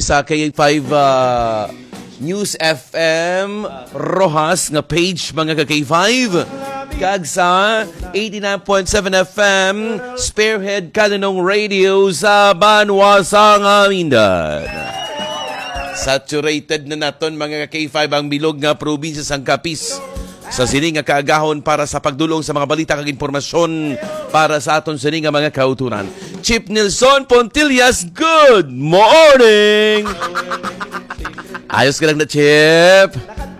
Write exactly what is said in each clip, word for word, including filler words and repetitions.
sa K five, ah, News F M Roxas nga page, mga ka K five, kag sa eighty-nine point seven F M Spearhead Kalinong Radio sa banwa sang Amindan. Saturated na naton, mga ka K five, ang bilog nga probinsya sang Capiz sa sini nga kaagahon para sa pagdulong sa mga balita kag impormasyon para sa aton sini nga mga kauturan. Chief Nelson Pontillas, good morning! Ayos ka lang na, Chief?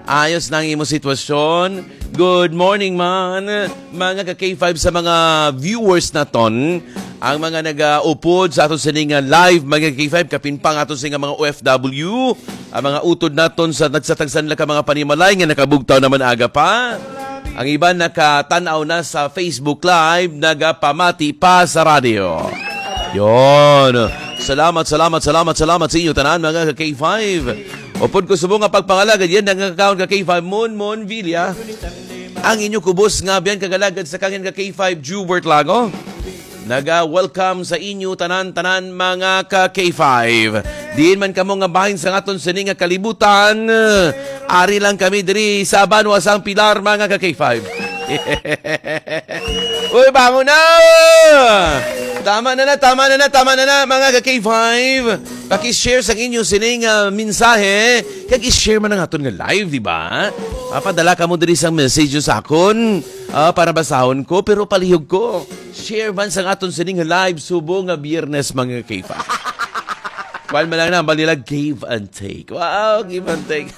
Ayos na ang imo sitwasyon? Good morning, man. Mga ka K five, sa mga viewers naton, ang mga nagaupod sa aton sini nga live, mga K five, kapin pa ang aton sini nga mga O F W, ang mga utod naton sa nagsatagsan nila ka mga panimalay nga nakabugtaw naman aga pa. Ang iban nakatan-aw na sa Facebook Live, nagapamati pa sa radyo. Yon. Salamat, salamat, salamat, salamat sa inyo tanan, mga ka K five. Upod ko subong nga pagpangalagad yan, nagkakaon ka K five, Mon Mon Villa. Ang inyo kubos nga biyan kagalagad sa kangin ka K five, Jubert Lago. Naga-welcome sa inyo tanan-tanan, mga ka K five. Diin man kamo nga bahin sa aton sini nga kalibutan, ari lang kami diri sa banwa sang Pilar, mga ka K five. Uy, bangon na! Tama na na, tama na na, tama na na, mga ka K five. Paki-share sang inyo sining, ah, mensahe. Kag i-share man ang aton nga live, di ba? Mapadala kamo diri sang message sa akon, ah, para basahon ko, pero palihog ko. Share man sang aton sining live subong nga Biyernes, mga K five. Kuwan man lang na, bali lang, give and take. Wow, give and take.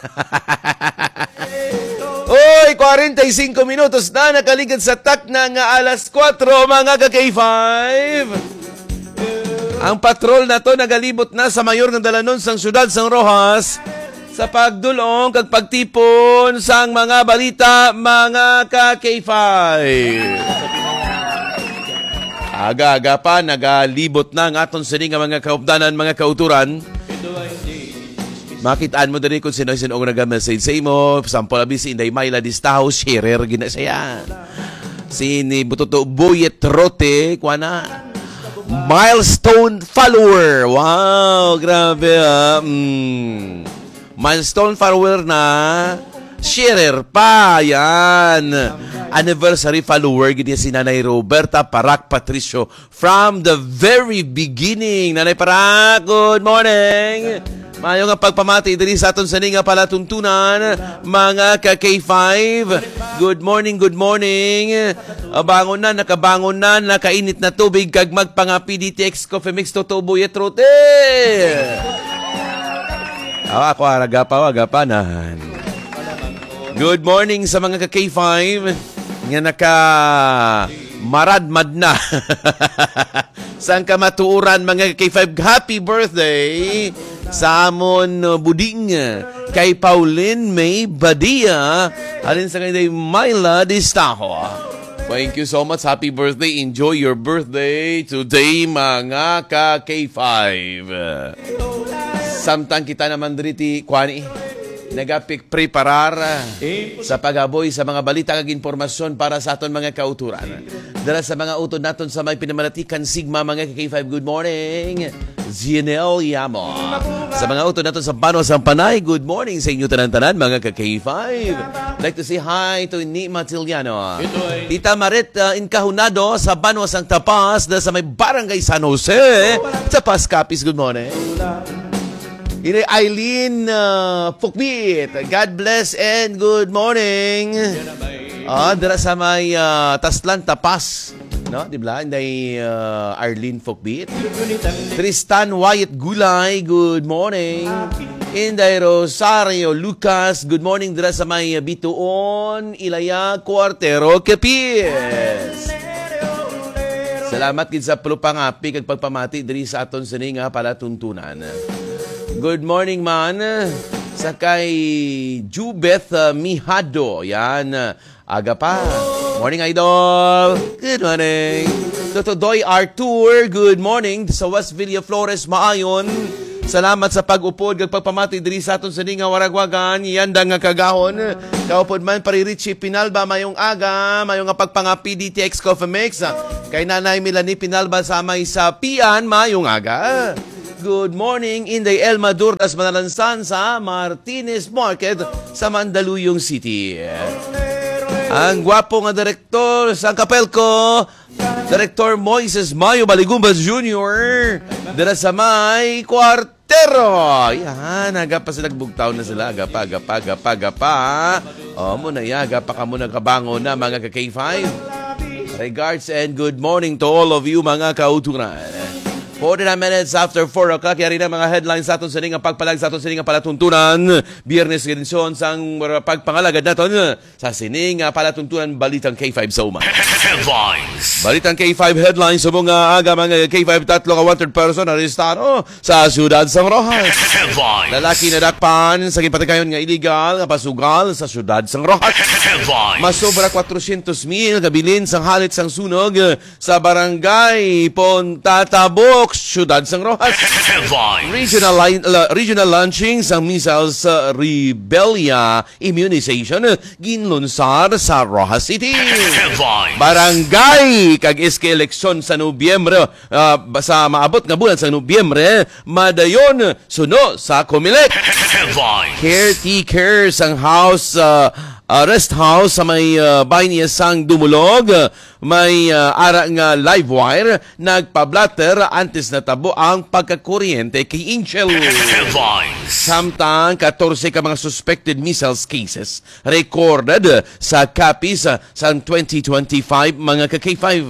Oy, kwarenta y singko minutos na nakaligid sa takna nga alas kuwatro, mga ka K five. Ang patrol na to nagalibot na sa mayor nga dalanon sang siyudad sang Roxas sa pagdulong kag pagtipon sang mga balita, mga ka K five. Aga-aga pa, nagalibot na ang aton sini nga mga kaupdanan, mga kauturan. Makitaan mo diri kung sino-sino ang naga-message sa imo. Sample, abi si Inday Myla Distaho, sharer gina siya. Si ni Bututo Boyet Rote, kuha na. Milestone follower. Wow, grabe, ah. Mm. Milestone follower na. Sharer pa, yan. Anniversary follower, gid niya si Nanay Roberta Parak Patricio from the very beginning. Nanay Parak, good morning. Mayo nga pagpamati diri sa aton sini nga palatuntunan, mga ka K five. Good morning, good morning. Ah, bangon na, nakabangon na, nakainit na tubig, kag magpangapi D T X Coffee Mix, Toto Boy at Rote. Ah, ako, ah, agapa, agapa na. Good morning sa mga ka K five nga naka maradmad na sang kamatuoran, mga K five. Happy birthday sa amon, uh, buding, uh, kay Pauline May Badia, halin sa kay Myla Distaho. Thank you so much. Happy birthday. Enjoy your birthday today, mga ka K five. Samtang kita naman diri ti, kuan, eh, nagapik-, preparar, ah, sa paghaboy sa mga balita kag impormasyon para sa aton mga kauturan. Dala sa mga utod naton sa may pinamalatikan, Sigma, mga ka K five, good morning. Zinel Yamo. Sa mga utod naton sa Banwa sang Panay, good morning sa inyo tanan-tanan, mga ka K five. Like to say hi to Ni Matiliano. Tita Marit, uh, Incahunado sa Banwa sang Tapas, na sa may Barangay San Jose, Tapas, Capiz, good morning. Ini Eileen, uh, Fukbit, God bless and good morning. Ah, dira sa may, ah, Taslan, Tapas, no? Di ba? Inday, ah, Arlene Fukbit. Tristan Wyatt Gulay, good morning. Inday Rosario Lucas, good morning dira sa may Bituon, Ilaya, Cuartero, Capiz. Salamat gid sa pagpangapi kag pagpamati diri sa aton sini nga palatuntunan. Good morning man sa kay Jubeth, uh, Mihado. Yan. Aga pa. Morning, Idol. Good morning. Toto Doy Arthur, good morning. Sa West Villa Flores, Maayon. Salamat sa pag-upod kag pagpamati diri sa aton sini nga waragwagan. Yanda nga kagahon. Kaupod man, Pari Richie Pinalba, mayong aga. Mayong nga pagpangapi D T X Coffee Mix. Kay Nanay Melanie Pinalba sa may sa Pian, mayong aga. Good morning, Inday Elma Durdas Manalansan sa Martinez Market sa Mandaluyong City. Ang gwapo nga direktor sa Kapelco, Direktor Moises Mayo Baligumbas Junior, dira sa may kwartero. Yan, aga pa sila, bugtaw na sila. Aga pa, aga pa, aga pa, aga pa. O, mo na ya, aga pa kamo nakabangon na, mga ka-K five. Regards and good morning to all of you, mga kauturan. Forty-nine minutes after four o'clock, yari na mga headlines sa aton sining nga pagpalag sa aton sining nga palatuntunan. Biyernes nga edisyon sang pagpangalagad naton sa sining nga palatuntunan, Balitang K five sa Uma. Headlines. Balitang K five headlines, subong nga aga, mga K five, tatlo ka wanted person arestado sa siyudad sang Roxas. Headlines. Lalaki nadakpan sa ginpatigayon nga iligal nga pasugal sa siyudad sang Roxas. Headlines. Masobra kwatrocientos mil ka bilin sang halit sang sunog sa Barangay Pontatabok, Siyudad sang Roxas. Headlines. Regional line, la- regional launching sang measles, uh, rubella immunization, uh, ginlunsar sa Roxas City. Headlines. Barangay kag S K eleksyon sa Nobyembre, uh, ba- sa maabot nga bulan sa Nobyembre, madayon suno sa Comelec. Headlines. Caretaker sang house, uh, uh, rest house sa may, uh, bahin niya sang Dumulog, may, ah, ara nga live wire nagpablatter antes natabo ang pagkakuryente kay Angel. Headlines. Samtang katorse ka mga suspected measles cases recorded sa Capiz, ah, sang twenty twenty-five, mga ka-K five.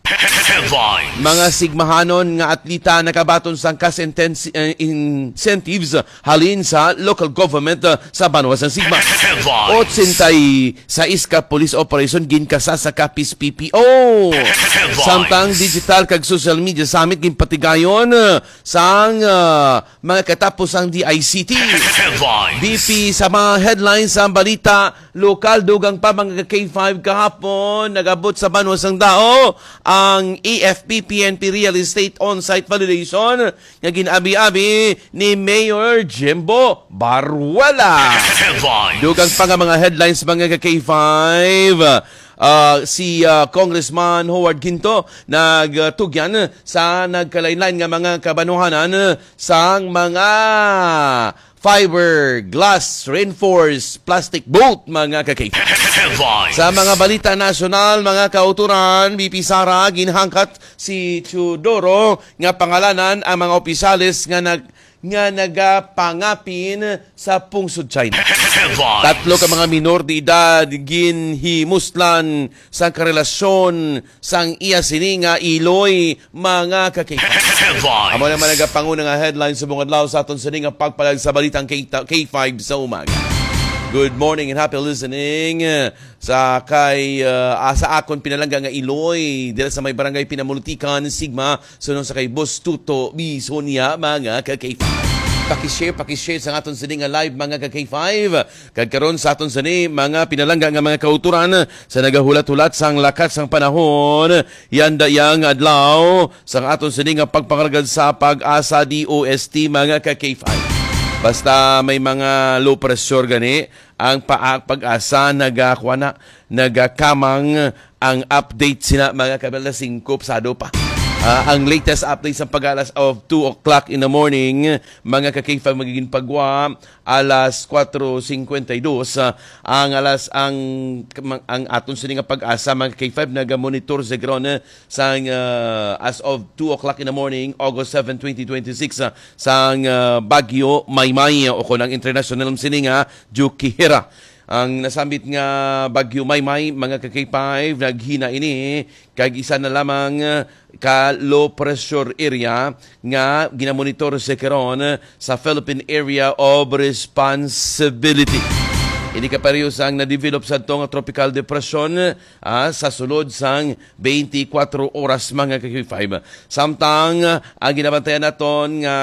Headlines. Mga sigmahanon nga atleta nakabaton sang cash intensi-, eh, incentives halin sa local government, ah, sa banwa sang Sigma. Headlines. Otsentay sais ka police operation ginkasa sa Capiz P P O. Headlines. Samtang digital kag social media summit ginpatigayon, ah, sang, ah, mga katapos sang D I C T. Headlines. B P sa mga headlines sang balita lokal, dugang pa, mga ka-K five, kahapon nag-abot sa banwa sang Dao ang A F P P N P Real Estate On-Site Validation nga gin-abi-abi ni Mayor Jimbo Baruela. Headlines. Dugang pa nga mga headlines, mga ka-K five, ah, si, ah, Congressman Howard Ginto nagtugyan sa nagkalain-lain nga mga kabanwahanan sang mga fiberglass reinforced plastic boat, mga ka-K five. Headlines. Sa mga balita nasyonal, mga kauturan, B P Sara, ginhangkat si Teodoro nga pangalanan ang mga opisyales nga nag-, nga nagapangapin sa pungsod China. Headlines. Tatlo ka mga minor de edad ginhimuslan sang karelasyon sang iya sini nga iloy, mga ka-K five. Headlines. Amo naman nagapanguna nga headlines sa mga adlaw sa aton sini nga pagpalag sa balitang K, K five sa umaga. Good morning and happy listening sa kay, uh, asa akon pinalangga nga iloy dira sa may barangay Pinamultikan, Sigma, suno sa kay Boss Tuto Bisonia, mga ka-K five. Pakishare, pakishare sa aton sini nga live, mga ka-K five. Kag karon sa aton sini, mga pinalangga nga mga kauturan, sa nagahulat-hulat sang lakat sang panahon, yanda yang adlaw sang aton sini nga pagpangalagad sa PAGASA D O S T, mga ka-K five. Basta may mga low pressure gani, ang pa-, PAGASA nagakuha na, nagakamang ang update sina, mga kabala, singko pasado pa. Ah, ang latest update sa PAGASA as of two o'clock in the morning, mga ka-K five, magiging pagwa alas kuwatro singkwenta y dos, ah, ang alas, ang, ang aton sini nga PAGASA, mga ka-K five, naga-monitor sa ground, eh, sang, ah, as of two o'clock in the morning, August seven, twenty twenty-six, ah, sang, ah, Bagyo Maymay, o kon ang international sini nga Jukihira. Ang nasambit nga Bagyo Maymay, mga ka-K five, naghina ini kag isa na lamang ka low pressure area nga ginamonitor sa karon sa Philippine Area of Responsibility. Ini kapareho sang na-develop sadto nga tropical depression, ah, sa sulod sang twenty-four oras, mga ka-K five. Samtang, ah, ang ginabantayan naton nga,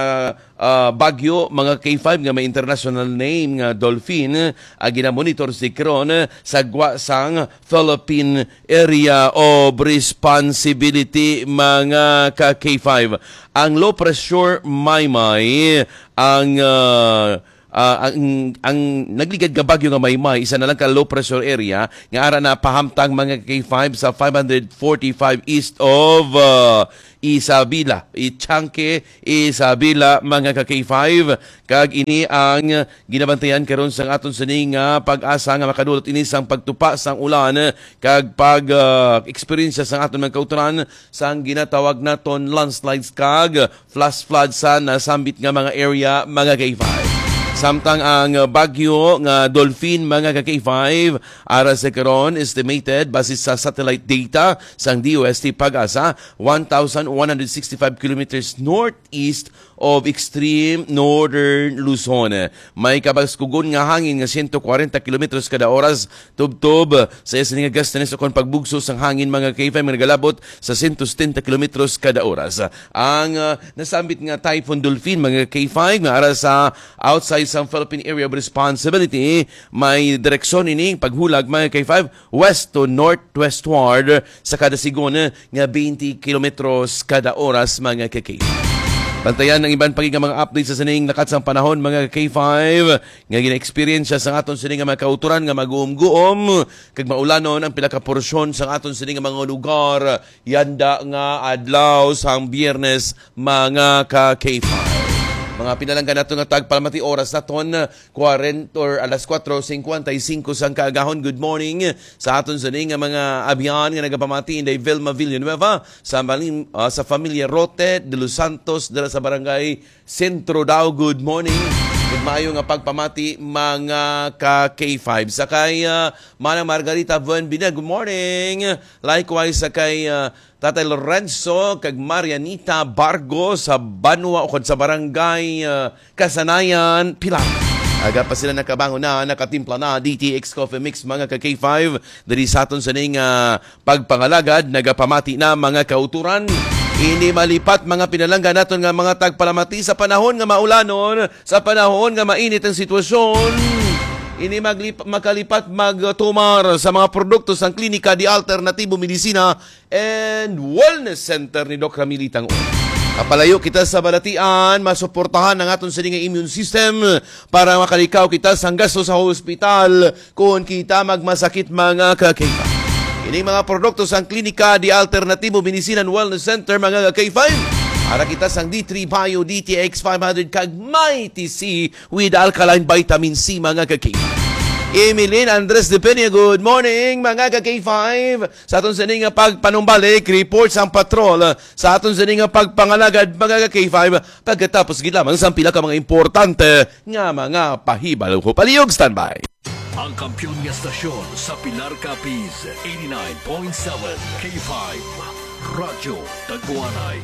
ah, bagyo, mga ka-K five, nga may international name nga Dolphin, ah, ginamonitor si karon sa gwa sang Philippine Area of Responsibility, mga ka-K five. Ang low pressure Maymay, ang, ah, ah, ang, ang nagligad nga bagyo nga Maymay, isa na lang ka low pressure area nga ara na pahamtang, mga ka-K five, sa five hundred forty-five east of, ah, Isabela, Ichanque, Isabela, mga ka-K five. Kag ini ang ginabantayan karon sang aton sini nga PAGASA nga makadulot ini sang pagtupa sang ulan kag pag, ah, eksperyensya sang aton mga kautoran sang ginatawag naton landslides kag flash flood sa nasambit nga mga area, mga ka-K five. Samtang ang bagyo nga Dolphin, mga ka-K five, ara sa karon, estimated base sa satellite data sang D O S T PAGASA, one thousand one hundred sixty-five kilometers northeast of extreme northern Luzon. May kabaskugon nga hangin nga siyento kwarenta kilometros kada oras, tubtob sa iya sini nga gustiness ukon pagbugso sang hangin, mga ka-K five, nga nagalabot sa siyento setenta kilometros kada oras. Ang, ah, nasambit nga Typhoon Dolphin, mga ka-K five, nga ara sa outside sang Philippine Area of Responsibility, may direksyon ini paghulag, mga ka-K five, west to northwestward sa kada sigon nga twenty kilometros kada oras, mga ka-K five. Bantayan ang iban pa gid nga mga update sa sining lakat sang panahon, mga ka-K five, nga gina-experience sa aton sini nga mga kautoran nga maguom-guom kag maulanon ang pila ka porsyon sa aton sini nga mga lugar yanda nga adlaw sang Biyernes, mga ka-K five. Mga pinalangga nato nga tagpalamati, oras naton, kwarenta or alas kuwatro singkwenta y singko sang kaagahon. Good morning sa aton sini nga mga abyan nga nagapamati, Inday Vilma Villanueva, sa maling, ah, sa familia Rote de los Santos, dira sa barangay Centro Dao. Good morning. Good, maayo nga pagpamati, mga ka-K five. Sa kay, ah, Manang Margarita Buenbina, good morning. Likewise, sa kay, ah, Tatay Lorenzo kag Marianita Bargo sa banwa ukon sa barangay, ah, Kasanayan, Pilar. Aga pa sila nakabangon na, nakatimpla na D T X Coffee Mix, mga ka-K five. Diri sa aton sining, ah, pagpangalagad, nagapamati na, mga kauturan. Ini malipat, mga pinalangga naton nga mga tagpalamati, sa panahon nga maulanon, sa panahon nga mainit ang sitwasyon. Ini maglip-, makalipat magtumar sa mga produkto sang Klinika de Alternatibo Medisina and Wellness Center ni Doc Ramili Tangon. Kapalayo kita sa balatian, masuportahan ang aton sini nga immune system para makalikaw kita sang gasto sa hospital kon kita magmasakit, mga ka-K five. Ining mga produkto sang Klinika de Alternatibo Medicine and Wellness Center, mga ka-K five, ara kita sang D three Bio, D T X five hundred, kag Mighty C with alkaline vitamin C, mga ka-K five. Emeline Andres de Peña, good morning, mga ka-K five. Sa aton sini nga pagpanumbalik, report sang patrol sa aton sini nga pagpangalagad, mga ka-K five, pagkatapos gid lamang sang pila ka mga importante nga mga pahibalo. Palihog, standby. Ang kampiyon nga stasyon sa Pilar, Capiz, eighty-nine point seven K five Radyo Taguanay.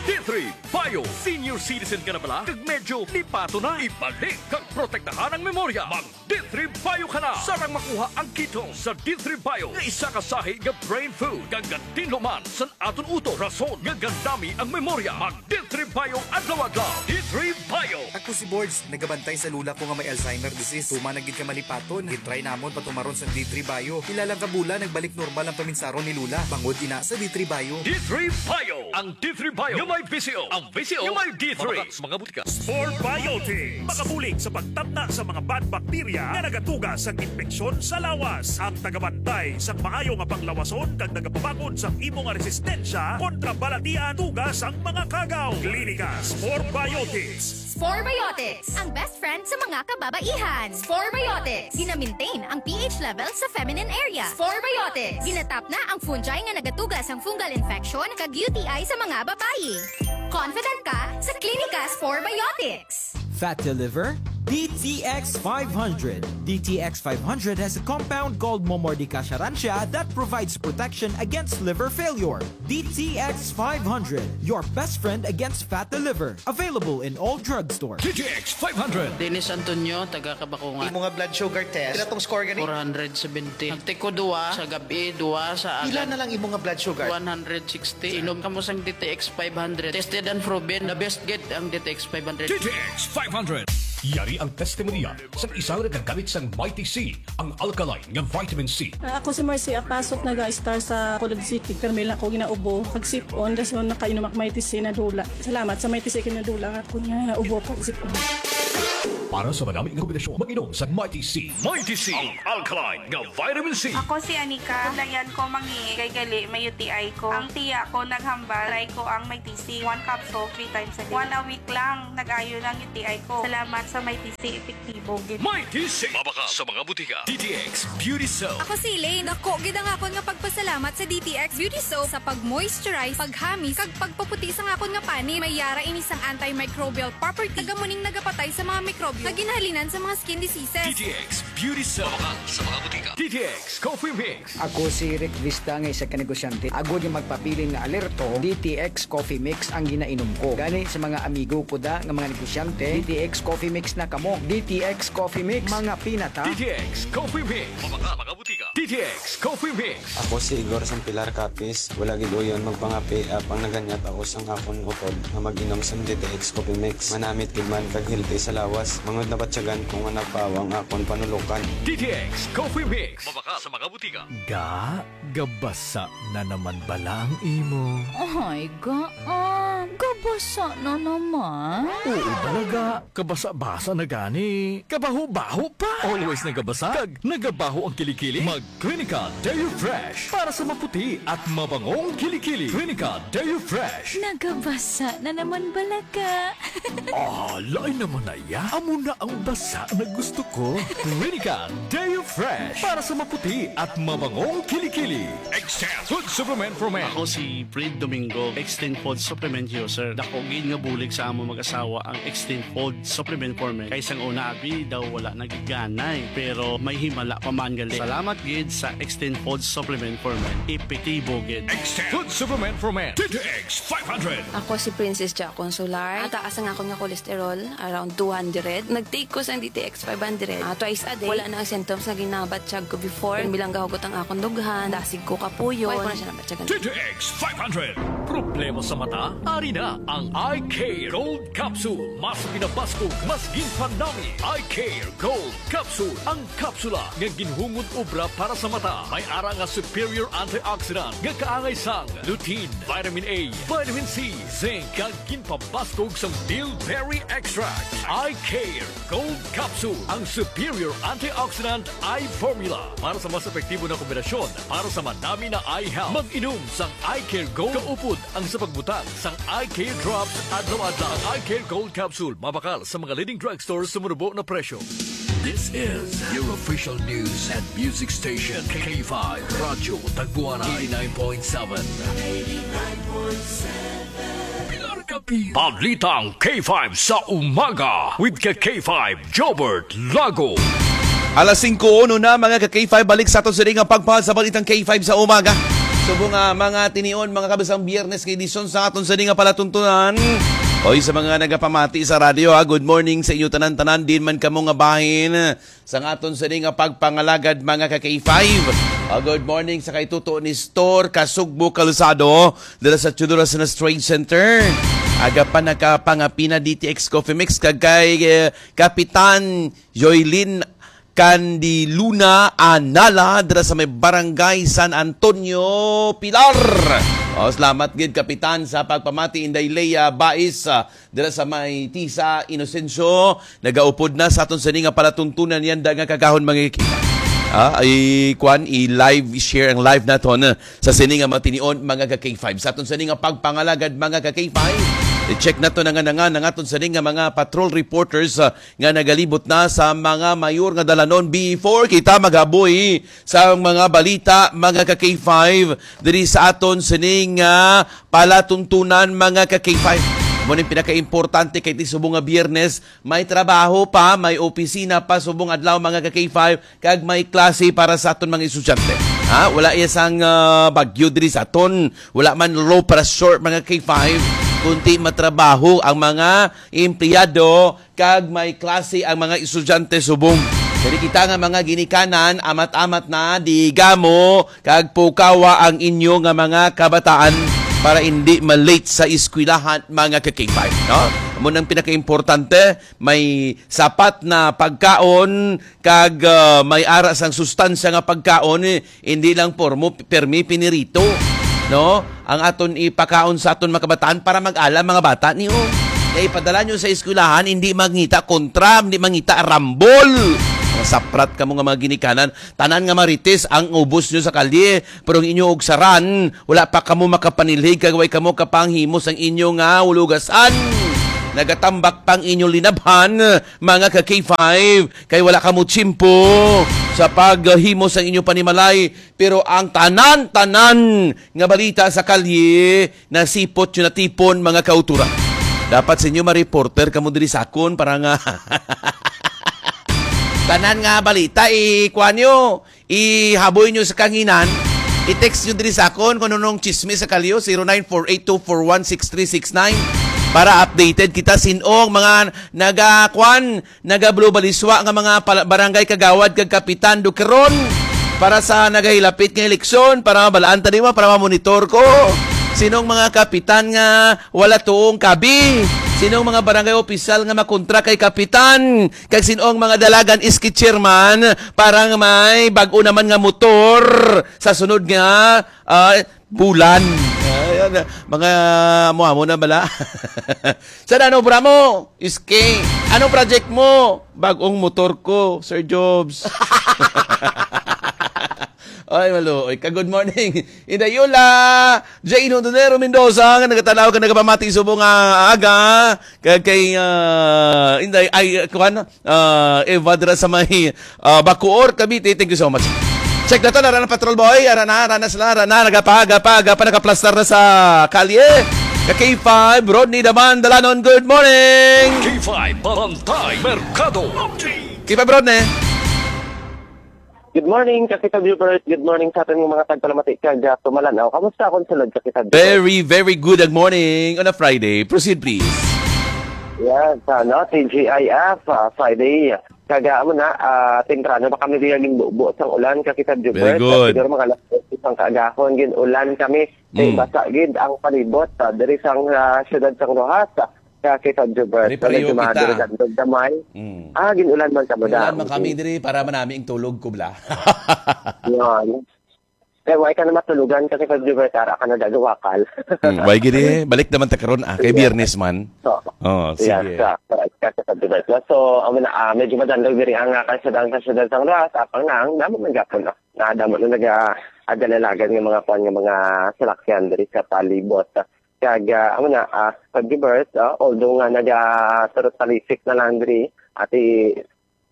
D three Bio. Senior citizen ka na bala? Kag medyo lipato na? Ibalik kag protektahan ang memorya. Mag D three Bio ka na. Sarang makuha ang ketone sa D three Bio nga isa ka sahi nga brain food. Kag gatinlo man sa aton utok, rason nga gandami ang memorya. Mag D three Bio adlaw-adlaw. D three Bio. Ako si Borge, nagabantay sa lola ko nga may Alzheimer disease. Tuman na gid ka malipaton. Gitry namon patumaron sa D three Bio. Pila lang ka bulan, nagbalik normal ang paminsaron ni lola. Bangod ina sa D three Bio. D three Bio. Ang D three Bio nga may V C O. Ang V C O nga may D three. Mabakak sa mga butika. Spore Biotics. Makabulig sa pagtamna sa mga bad bacteria nga nagatuga sang impeksyon sa lawas. Ang tagabantay sang maayo nga panglawason kag nagapabangon sang imo nga resistensya kontra balatian tuga sang mga kagaw. Klinika Spore Biotics. Spore Biotics, ang best friend sa mga kababaihan. Spore Biotics, gina-maintain ang P H level sa feminine area. Spore Biotics, ginatapna ang fungi nga nagatuga sang fungal infection kag U T I sa mga babayi. Confident ka sa Klinika Spore Biotics. Fat to liver? D T X five hundred. D T X five hundred has a compound called Momordica charantia that provides protection against liver failure. D T X five hundred, your best friend against fat to liver. Available in all drugstores. D T X five hundred. Dennis Antonio, taga Kabakungan. Imo nga blood sugar test, pila tong score gani? Four hundred seventy. Nagtiko duwa sa gabi, duwa sa Pila agad. Na lang imo nga blood sugar? One hundred sixty. Inom kamo sang D T X five hundred. Tested and proven, the best gid ang D T X five hundred. D T X five hundred. Yari ang testimonya sang isa nga nagagamit sang Mighty C, ang alkaline nga vitamin C. Ah, ako si Marcy Apasok, naga-star sa College City. Pero may lang ako ginaubo, pag sipon, dason nakainom ako Mighty C, nadula. Salamat sa Mighty C, kinadula nga ako nga ubo, pag sipon. Para sa madami nga kombinasyon, mag-inom sa Mighty C. Mighty C, ang alkaline nga vitamin C. Ako si Anika. Layan ko mangi kay gali may U T I ko. Ang tiya ko naghambal, try ko ang Mighty C. One capsule, three times a day. One a week lang, nag-ayo ng U T I ko. Salamat sa Mighty C, epektibo gid. Mighty C. Mabakal sa mga butika. D T X Beauty Soap. Ako si Elaine. Dako gid ang akon nga pagpasalamat sa D T X Beauty Soap sa pag-moisturize, paghamis, kag pagpaputi sang akon nga panit. May yara ini sang antimicrobial property. Taga mo ning nagapatay sa mga mikrobyo nga ginhalinan sa mga skin diseases. D T X Beauty Soap. Mabakal sa mga butika. D T X Coffee Mix. Ako si Rick Vista nga isa ka negosyante. Agod nga magpabilin nga alerto, D T X Coffee Mix ang ginainom ko. Gani sa mga amigo ko da nga mga negosyante, D T X Coffee Mix na kamo. D T X Coffee Mix, mga pinata. D T X Coffee Mix. Mabakal sa mga butika. D T X Coffee Mix. Ako si Igor sang Pilar Capiz. Wala gid uyon magpangapi, apang naganyat ako sang akon utod nga mag-inom sang D T X Coffee Mix. Manamit gid man kag healthy sa lawas. Mangod nabatyagan ko nga nagpawa ang akon panulukan. D T X Coffee Mix. Mabakal sa mga butika. Ga, gabasa na naman bala ang imo? Ay, ga, ah, gabasa na naman. Oo, balaga. Kabasa-basa na gani. Kabaho-baho pa. Always nagabasa. Kag nagabaho ang kilikili. Mag Clinica Deo Fresh para sa maputi at mabangong kilikili. Clinica Deo Fresh. Nagabasa na naman bala ka. Ah, lain naman na ya. Amo na ang basa na gusto ko. Clinica Deo Fresh para sa maputi at mabangong kilikili. Extend Food Supplement for Men. Ako si Fred Domingo, Extend Food Supplement User. Dako gid nga bulig sa amo mag-asawa ang Extend Food Supplement for Men. Kay sang una, abi daw wala nagiganay, pero may himala pa man gali. Salamat gid sa Extend Food Supplement for Men. Epektibo gid. Extend Food Supplement for Men. D T X five hundred. Ako si Princess Ja Consular. Ang taas ang akon nga cholesterol, around two hundred. Nag-take ko sang D T X five hundred. Ah, twice a day. Wala na ang symptoms nga ginabatyag ko before. Pirmi lang gahugot ang akon dughan. Dasig ko kapuyon. Wala ko na siya nabatyagan. D T X five hundred. Problema sa mata? Ari na ang Eye Care Gold Capsule. Mas pinabaskog, mas ginpanami. Eye Care Gold Capsule. Ang kapsula nga ginhungod obra para sa mata. May ara nga superior antioxidant nga kaangay sang lutein, vitamin A, vitamin C, zinc, kag ginpabaskog sang bilberry extract. Eye Care Gold Capsule, ang superior antioxidant eye formula para sa mas epektibo na kombinasyon para sa madami na eye health. Mag-inom sang Eye Care Gold kaupod ang sa pagbutang sang Eye Care Drops adlaw-adlaw. Ang Eye Care Gold Capsule mabakal sa mga leading drugstore sa manubo na presyo. This is your official news and music station, K five Radyo Tagbuanay, eighty-nine point seven. Pilar Capiz. Balitang K five sa umaga with ka K five Jobert Lago. Alas singko uno na, mga ka K five, balik sa aton sini nga pagpahal sa balitang K five sa umaga. Subong nga mga tinion, mga kabisang Biyernes kay edisyon sa aton sini nga palatuntunan. Oy, sa mga nagapamati sa radyo, ha, good morning sa inyo tanan-tanan, din man kamo nga bahin sang aton sini nga pagpangalagad, mga ka K five. Ah, good morning sa kay Tuto Nestor Kasugbo Calzado, dala sa Chudurasanas Trade Center. Aga pa nakapangapina D T X Coffee Mix kag kay, eh, Kapitan Joylin Candiluna Anala dira sa may Barangay San Antonio, Pilar. O, salamat gid, Kapitan, sa pagpamati. Inday Lea Bais, ah, dira sa may Tisa Inocencio, nagaupod na sa aton sini nga palatuntunan yan da nga kagahon, mga kikita. Ah, i-, kwan, i-live, i-share ang live naton, ah, sa sini nga mga tinion, mga ka K five. Sa aton sini nga pagpangalagad, mga ka K five, i-check nato na nga, na nga, ang aton sini nga mga patrol reporters, ah, nga nagalibot na sa mga mayor nga dalanon before kita maghaboy sa mga balita, mga ka K five, diri sa aton sining, ah, palatuntunan, mga ka K five. Amo ning pinakaimportante kay ti subong nga Biyernes, may trabaho pa, may opisina pa subong adlaw, mga ka K five, kag may klase para sa aton mga estudyante. Ha? Wala iya sang, ah, bagyo diri sa aton. Wala man low pressure, mga K five, kundi matrabaho ang mga empleyado kag may klase ang mga estudyante subong. Diri kita nga mga ginikanan, amat-amat na, digamo kag pukawa ang inyo nga mga kabataan para indi ma-late sa eskwelahan, mga ka K five, no? Amo nang pinakaimportante, may sapat na pagkaon kag, ah, may ara sang sustansya nga pagkaon, eh, hindi lang pormo, permi pinirito, no? Ang aton ipakaon sa aton mga kabataan para mag-ala mga bata niyo. Ipadala nyo sa eskwelahan, hindi mangita kontra, hindi mangita rambol. Mga saprat kamo nga mga ginikanan, tanan nga marites ang ubos nyo sa kalye, pero ang inyo ugsaran, wala pa kamo makapanilhig, kag way kamo kapanghimo sang inyo nga hulugasan. Nagatambak pang inyo linabhan, mga ka K five, kay wala kamo tiyempo sa paghimo sang inyo panimalay, pero ang tanan-tanan nga balita sa kalye, nasipot nyo natipon, mga kauturan. Dapat sa inyo ma-reporter kamo diri sa akon para nga tanan nga balita, ikuan nyo, ihaboy nyo sa kanginan, i-text nyo diri sa akon kung anong chismis sa kalye, zero nine four eight two four one six three six nine, para updated kita sin-ong mga nagakuan, nagablubaliswa nga mga pala-, barangay kagawad kag kapitan dukeron para sa nagahilapit nga eleksyon, para mabalaan ta nimo, para mamonitor ko. Sinong mga kapitan nga wala tuong kabi? Sinong mga barangay opisyal nga makontra kay kapitan? Kag sinong mga dalagan iski chairman para nga may bag-o naman nga motor sa sunod nga, ah, bulan? Ayan, mga amo-amo na bala. Sa ano, obra mo? Iski. Anong project mo? Bagong motor ko, Sir Jobs. Ay, maluoy ka. Good morning, Inday Yola. Jane Hondonero Mendoza, nga nagatanaw ka, nagapamati subong nga aga. Kag kay, ah, Inday, ay, kuwan, ah, Eva dira sa may, ah, Bacoor, Cavite. Thank you so much. Check na to, nara na Patrol Boy, ara na, ara na sila, ara na, nagapa, agapa, agapa, nakaplastar na sa kalye. Ka K five, Rodney Daman, Dalanon, good morning! K five Bantay Merkado. K five, Rodney. Good morning, Kakita Viewers. Good morning sa aton nga mga tagpalamati kag, ah, tumalan. O, kamusta akong sulod, Kakita Viewers? Very, very good. Good morning on a Friday. Proceed, please. Yes, ano, T G I F, ah, Friday. Kag, ah, amo na, ah, temprano pa kami diya ginbubo sang ulan, Kakita Viewers. Very good. Siguro mga alas dos sang kaagahon, gin-ulan kami. Kay Mm. basa gid ang palibot, ah, diri sang, ah, siyudad sang Roxas, ah, Kakita Viewers. Pare-pareho Medyo kita. madurog-andog gamay. Mm. Ah, gin-ulan man kamo Gin-ulan da. man kami Okay. diri para manami ang tulog ko, bla. Yun. Kay why ka na matulugan kasi pag Jupiter, ara ka na dagawakal. Hmm, why gid eh? Balik naman ta karon, ah, kay Yeah. Biyernes man. So, Oh, yes, sige. ah, correct ka sa pag Jupiter. So, amo na, ah, medyo madandog diri ang, ah, kalsada, ang kalsada sang Roxas, apang na, ang damo man gapon, no? Na damo na naga-, agalalagan nga mga kwan nga mga salakyan diri sa palibot. Kag, ah, amo na, ah, pag Jupiter, ah, although nga naga-, turot talisik na lang diri, ati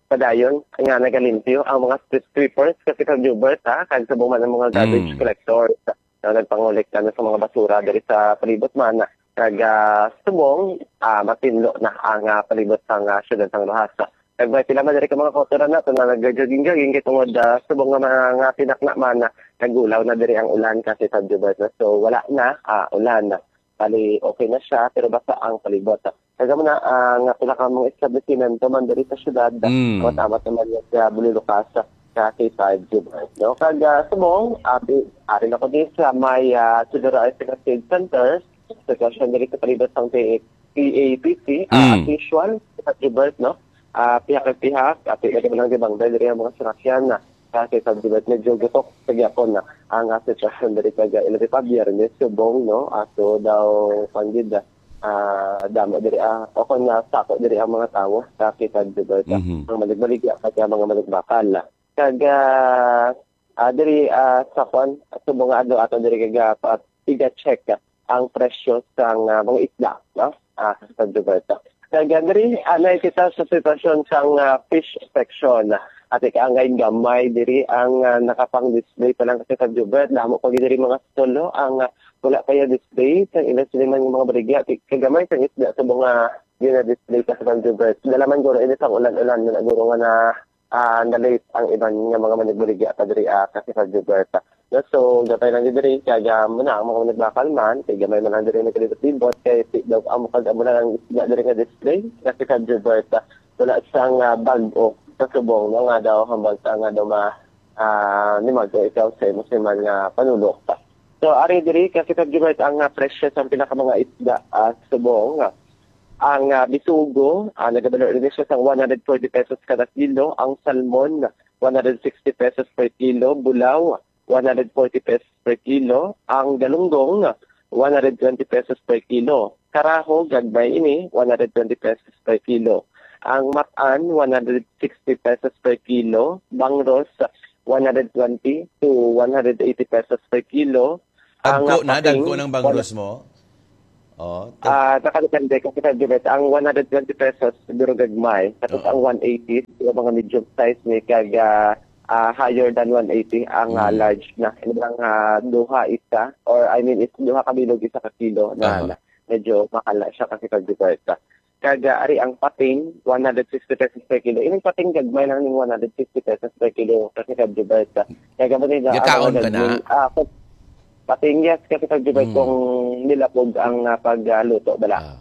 padayon nga nagalimpyo ang mga street sweepers kasi kag Jubert, ha, kag subong man ang mga garbage Mm. collectors na nagpangolekta na sa mga basura diri sa palibot man. Kag, ah, subong, ah, matinlo na ang, ah, palibot sang, ah, siyudad sang Roxas. Kag may pila man diri ka mga kautoran nato na nag-jogging-jogging kay tungod, ah, subong nga mga, nga tinakna man, ah, nagulaw na diri ang ulan kasi sa Jubert. So, wala na, ah, ulan. Bali, okay na siya, pero basa ang palibot. Kag amo na, ah, nga pila ka mga establisimento man diri sa syudad, Mm. amat-amat naman nga sa Bululukas, sa K five Jubert, no? Kag, ah, subong, ah, pi-, ari na ko din sa may, ah, Teodoro Arce Cascade Center, sitwasyon diri sa palibot sang P A, P A P C, ah, Mm. as usual, sa Jubert, no? Ah, pihak-pihak, ah, pihak lang di bang diri ang mga sinakyan na, ah, sa Jubert, medyo gutok sa gyapon na ang, ah, sitwasyon diri kag, ah, ilabi pa Biyernes, subong, no? Ah, so daw, kwan gid, ah, ah, damo diri, ah, o kon nasako diri ang mga tawo sa K five Jubert, ah, Mhm. ang maligbaligya kag mga maligbakal. Kag, ah, ah, diri, ah, sa kwan, subong nga adlaw ato diri kag, ah, pa-, iga-check, ah, ang presyo sang, ah, mga isda, no? Ah, sa Jubert. Kag, ah, diri, ah, nakikita sa sitwasyon sang, ah, fish section. At ikaangay gamay diri ang, ah, nakapang-display pa lang kasi sa Jubert. Damo pa gid diri mga stall, no? Ang, ah, wala pa yung display sa ilang siniman ng mga baligya. Ti-, kagamay sa isda sa mga gina-display pa sa Jubert. Dala man guro, ini sang ulan-ulan na guro nga na, ah, na-late ang iban nga mga manigbaligya pa diri, ah, kasi sa Jubert. No, so, gapay lang gid diri, kaya mo na ang mga managbakal man, kay gamay man lang diri nagkalibot-libot, kay ti-, daw amo kag amo lang ang isda diri nga display, kasi sa Jubert, wala sang, ah, bag-o sa subong, no, nga daw hambal sa nga daw ma-, ah, ni Mago ikaw sa imo siman nga panulok. So, ari diri, kasi sa Jubert ang, ah, presyo sa pila ka mga isda, ah, subong, ah, ang, ah, bisugo, ah, nagabalo rin siya sa one hundred forty pesos kada kilo, ang salmon, one hundred sixty pesos per kilo, bulaw, one hundred forty pesos per kilo, ang galunggong, one hundred twenty pesos per kilo. Karaho, gagmay ini, one hundred twenty pesos per kilo. Ang matan, one hundred sixty pesos per kilo. Bangros, one hundred twenty to one hundred eighty pesos per kilo. Ang, Dagko ah, na, pating, dagko ng bangros mo? Oh, to- Ah, nakadepende kasi sa Jubet. Ang one hundred twenty pesos, siguro gagmay. Tapos Oo. ang one eighty, siguro mga medium size ni kag, ah, ah, higher than one eighty ang, ah, Mm. large na. Ano lang, ah, duha isa, or I mean, is duha ka bilog isa ka kilo na, Aha. na medyo mahal na siya kasi sa Jubet. Kag, ah, ari ang pating, one hundred fifty pesos per kilo. Ining pating gagmay lang ning one hundred fifty pesos per kilo kasi sa Jubet. Kaya mo nila, Yakaon ano, ka na? Gagmay, ah, kung pating, yes, kasi sa Jubet Mm. kung nilapog ang, ah, pagluto, bala. Ah.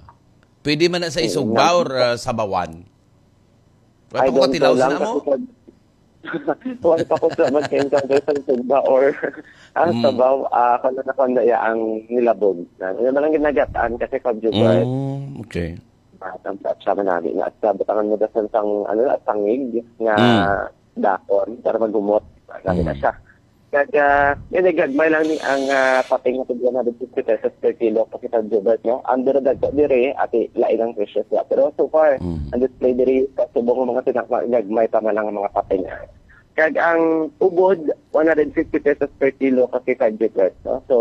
Pwede man na sa Mm, isugba nang- or, ah, sabawan? Wala I pa ko don't know katilaw sa lang namo? kasi pag, wala pa ko sa mag-encounter sa sugba or ang Mm. sabaw, ah, kung ano, kung ano, ya, ang nilabog. Na, yun man ang ginagataan kasi pag Jubert, Mm, okay. ah, ang sa, sa manami na, sa butangan mo dasan sang, ano na, sangig nga Mm. dakon para maghumot. Sabi na Mm. siya. Kag, ah, yun, eh, gagmay lang ni ang, ah, pating nga tag one hundred fifty pesos per kilo, pakita, Jubert, no? Ang duro dagko diri, ati, lain ang presyo siya. Pero so far, Mm. ang display diri sa subong nga mga tinapa, gagmay pa man lang ang mga pating. Kag ang ubod, one hundred fifty pesos per kilo, pakita, Jubert, no? So,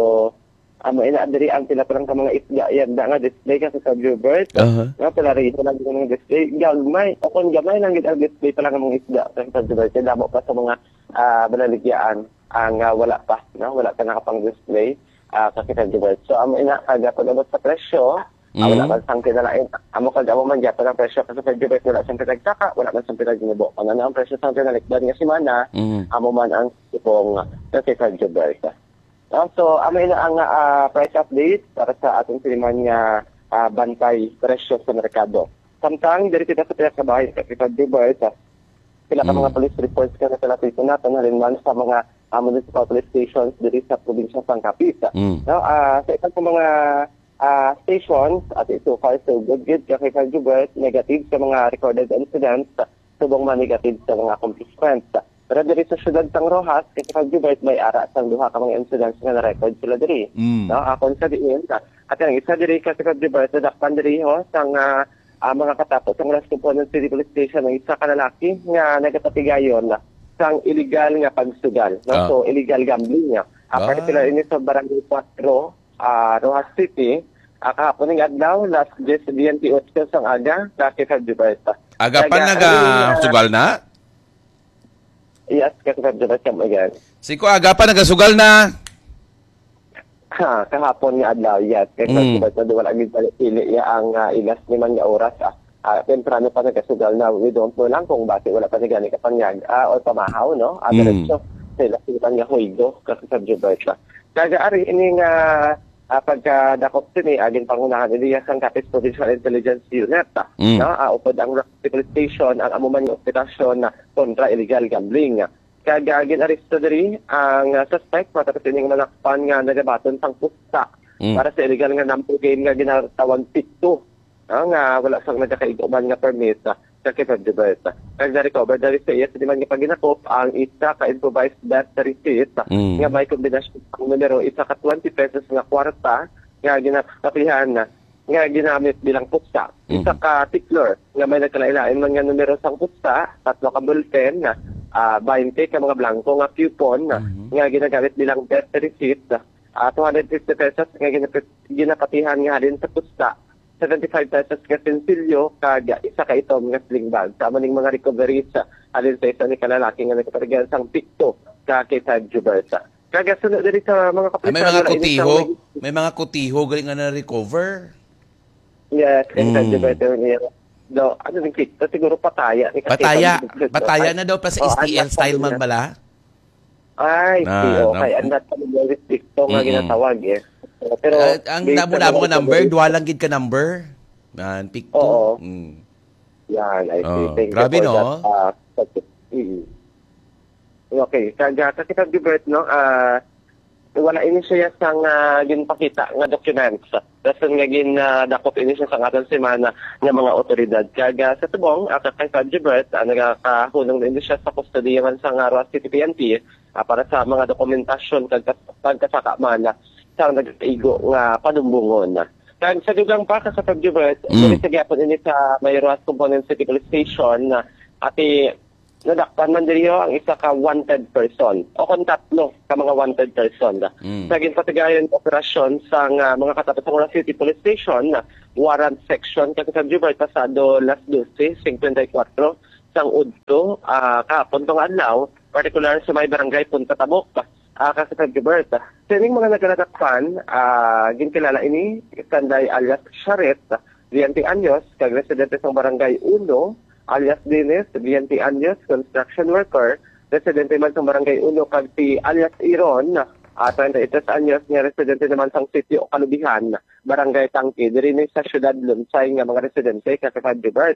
amo ina diri ang pila pa lang ka mga isda, yan da nga display kasi sa Jubert. Aha. Nga, pila rin lang yung mga display. Gagmay, o kung gamay lang gid ang display pa lang ang mga isda, kasi sa Jubert, kaya damo pa sa mga, ah, balaligyaan ang, ah, wala pa, no? Wala pa nakapang-display, ah, kasi sa Jubert. So, amo ina, kada pag-abot sa presyo, ah, wala Mm. man sang kinalain. Amo kag amo man gyapon ang presyo kasi sa Jubert, wala sang pinagsaka, wala man sang pinagnubo. Kung ano ang presyo sa pinalikdan nga semana, Mm. amo man ang subong kasi sa Jubert. Ah, so, amo ina ang, ah, price update para sa ating siniman nga, ah, bantay presyo sa merkado. Samtang diri kita sa pila ka bahin sa Capital Jubert, sa pila ka Mm. mga police reports nga nakalapit naton, halin man sa mga, ah, municipal police stations diri sa probinsya sang Capiz. Mm. No, ah, sa iban pa mga, ah, stations, at so far, so good gid, kay Capital Jubert, negative sa mga recorded incidents, subong man negative sa mga accomplishments. Pero diri sa siyudad sang Roxas, kay Capital Jubert, may ara sang duha ka mga incidents nga na-record sila diri. Mm. No, akon sa diin, at ang isa diri, kay Capital Jubert, nadakpan diri, ho, sang, ah, ah, mga katapo sang Las Componen City Police Station ang isa ka lalaki nga nagapatigayon sang illegal nga pagsugal, no? Ah. So, illegal gambling, no? Ah, Ah. particular ini sa Barangay Cuatro, ah, Roxas City, ah, kahapon nga adlaw, alas diyes biyente otso sang aga, sa Capital Jubert. Aga pa Kaya, naga ang, ah, sugal na? Yes, Capital Jubert, come again. Si ko aga pa nagasugal na. Ha, kahapon nga adlaw, yes. Kay Mm. Festival na wala gid pili iya ang, ah, ilas ni man nga oras, ah. Ah, temprano pa nagasugal na, we don't know lang kung basi wala pa ni gani kapanyag, ah, or pamahaw, no? Ah, Mm. diretso sa ilas ni man nga huwego, kasi sa Gilbert, ah. Kag ari ini nga, ah, pagkadakop sini, agin pangunahan ini sang Capiz Provincial Intelligence Unit, ah. Mm. No? Ah, upod ang Roxas City Police Station, ang amo man nga operasyon na kontra illegal gambling. Kag, ah, gin-aresto diri ang, ah, suspect matapos ining manakpan nga nagabaton sang pusta Mm. para sa illegal nga number game nga ginatawag Picto, ah, nga wala sang nagakaigo man nga permit, ah, sa Quezon Jubert. Kag na-recover diri sa iya sa diman nga paghinakop ang isa ka improvised bet receipt, ah, Mm. nga may kombinasyon sang numero, isa ka twenty pesos nga kwarta nga ginakapihan, ah, nga ginamit bilang pusta. Isa Mhm. ka tickler nga may nagkalain-lain man nga numero sang pusta, tatlo ka ballpen, ah, baynte ka mga blanco nga coupon Mhm. nga ginagamit bilang bet receipt, ah, two hundred fifty pesos nga ginapit-, ginapatihan nga halin sa pusta, seventy-five pesos nga sinsilyo, kag isa ka itom nga sling bag. Sa amo ning mga recoveries, ah, halin sa isa ni ka lalaki nga nagkapatigayon sang Picto sa K five Jubert. Kag sunod diri sa mga Ah, may kapulisan, mga wala ini kutiho, sang may mga kutiho gali nga na-recover. Yes, and Mm. sa Jubert niya. Do, ano din kita? Siguro pataya ni kasi Pataya. pag-, Pataya ay, na daw, plus oh, S T L anak style pa man niya. Bala? Ay, Na, si, okay. na- Ang nasa mga restricto nga Mm-mm. ginatawag, eh. Pero Ah, ang based sa damo-damo mga nga number, information duha lang gid ka number. Nan, pick two. Oo. Mm. Yan, I see. Oh, Thank you grabe, for no? that, ah, mm. Okay, kag, ah, kasi kag Gilbert, no, ah, wala ini siya sang, ah, ginpakita nga documents. Rason nga gin, ah, dakop ini siya sa aton semana nga mga otoridad. Kag, ah, sa tubong, ah, kay Fab Gilbert, ah, nagakahunong na ini siya sa kustodiya man sa, ah, Roxas City P N P, ah, para sa mga dokumentasyon kag kas-, pagkasaka man, ah, sa nagaigo nga panumbongon. Kag sa dugang pa, Kaka February, Mm. diri sa gihapon ini sa may Roxas Component City Police Station, na ati nadakpan man diri ang isa ka wanted person o kon tatlo ka mga wanted person. Mm. Sa ginpatigayon operasyon sang, ah, mga katapo sang Roxas City Police Station, warrant section, Kaka February, pasado las doce cincuenta y cuatro sang udto, ah, kahapon tong adlaw, partikular sa may barangay Punta Tabok, ah, Kaka February. Sining mga nagkalatakpan, ah, ginkilala ini, Sanday alias Charet, twenty anyos, kag residente sang Barangay Uno, alias Dennis, twenty anyos, construction worker, residente man sang Barangay Uno, kag si alias Iron, ah, treinta y tres anyos, nga residente naman sang Sitio Kalubihan, Barangay Tangke, diri ni sa Siyudad Lunsay nga mga residente, Kaka February.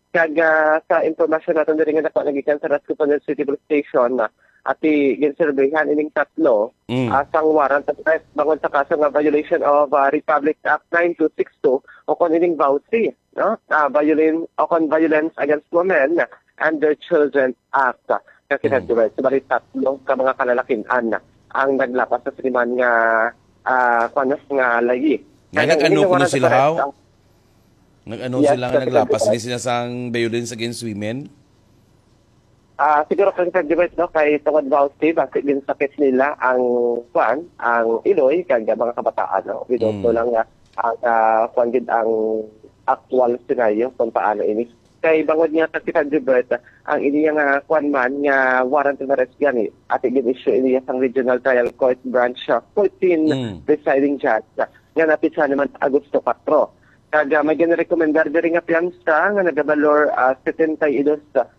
Kag, ah, sa impormasyon naton diri nga nakuha nagikan sa Rasco City Police Station, ah, ati ginserbihan ining tatlo, Mm. ah, sang warrant of arrest bangod sa kaso nga violation of, ah, Republic Act nine two six two o kon ining VAWC, no? Ah, violin-, o kon Violence Against Women and Their Children Act. Kasi Mm. sa Subalit tatlo ka mga kalalakin-an ang naglapas sa siniman nga, ah, kuwan, nga layi. Nga Kaya nag-ano ining kuno warrant of sila, arrest haw? ang Nag-ano Yes, sila nga Kaka naglapas? February. Hindi sila sang violence against women? Ah, siguro, Kaka February, no, kay tungod ba, Steve, basi ginsakit nila ang, kuwan, ang iloy kag mga kabataan, no? We don't know Mm. lang nga ang, ah, kuwan gid ang actual scenario kung paano ini. Kay bangod nga, Kaka February, ang iniya nga, kuwan man, nga warrant of arrest gani, ati gin-issue iniya sang Regional Trial Court Branch, ah, fourteen Mm. presiding judge, ah, nga napitsa naman sa Agosto kuwatro. Kag, ah, may ginarekomendar diri nga piyansa nga nagabalor, ah, setenta y dos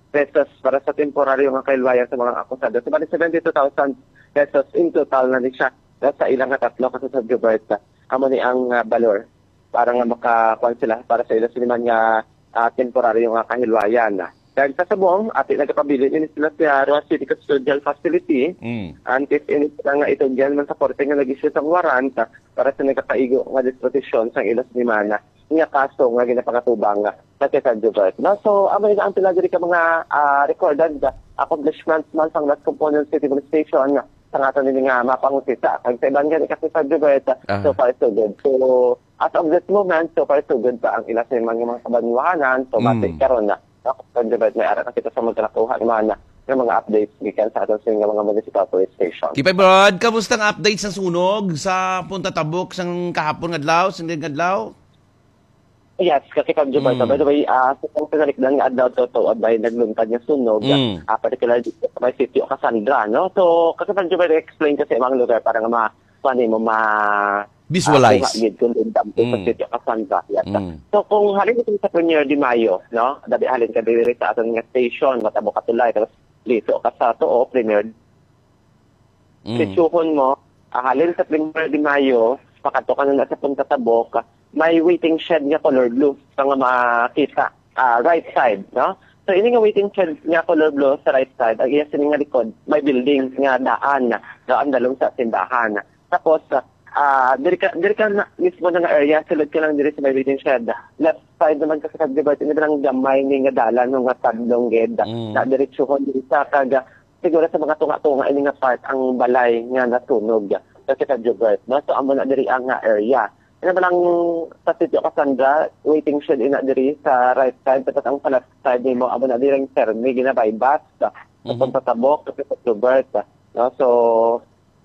pesos para sa temporaryo nga kahilwayan sa mga akusado. So, bali, seventy-two thousand pesos in total na ni siya, ah, sa ilang nga tatlo ka subject. Amo ni ang, ah, balor para nga makakuan sila para sa ila siniman nga, ah, temporaryo nga kahilwayan. Kag sa subong, ati nagapabilin ini sila sa Roxas City Custodial Facility Mm. until ini sila nga itugyan man sa korte nga nag-issue sang warrant, ah, para sa nagakaigo nga disposisyon sang ila siniman nga kaso nga ginapangatubang sa Quezon River. No? So, amo na ang pila diri ka mga, ah, recorded accomplishments man sang Las Component City Police Station sa aton ini nga mapangusisa. Kag sa iban gani ka Quezon River, Aha. so far so good. So, as of this moment, so far so good pa ang ila sa mga, mga kabanwahanan. So, Mm. mati karon na. No? Quezon River, may ara ka kita sa magkanakuha naman na ng mga updates gikan sa aton sa mga municipal police station. Kipay Brad, kamusta ang update sa sunog sa Punta Tabok sang kahapon nga adlaw, sang adlaw? Yes, kasi Kang Jubal, Mm. by the way, ah, sa pang pinalikdan nga adlaw, totoo, bay, nagluntad nga sunog, Mm. ah, particularly sa may sitio Cassandra, no? So, kasi Kang Jubal, explain kasi ang lugar para nga ma-, kuha nimo, ma-, Visualize. ah, kuha gid kung lindam ko sa Mm. sitio Cassandra. Yes. Mm. So, kung halin ka sa Premier de Mayo, no? Dabi halin ka diri sa aton nga station, matabo ka tulay, tapos liso ka sa tuo, Premier Mm. Sitsuhon mo, ah, halin sa Primero de Mayo, pakadto ka na sa Punta Tabok, may waiting shed nga color blue, sa nga makita, ah, right side, no? So, ini nga waiting shed nga color blue sa right side, ang iya sini nga likod, may building nga daan, daan dalong sa simbahan. Tapos, ah, diri ka, diri ka na, mismo na nga area, sulod ka lang diri sa may waiting shed. Left side naman kasi sa Gilbert, ini lang gamay ni nga dalan nga tadlong gid. Mm. Na diretsuhon diri sa kag siguro sa mga tunga-tunga ini nga part ang balay nga nasunog sa Sitio Gilbert, no? So, amo na diri ang, ah, area. Ano ba lang sa Sitio Cassandra, waiting shed ina diri sa right side, tapos ang sa left side nimo, amo na diri ang Fermi, ginabay bus, Mhm. tapos sa Tabok, sa Sitio Gilbert, no? So,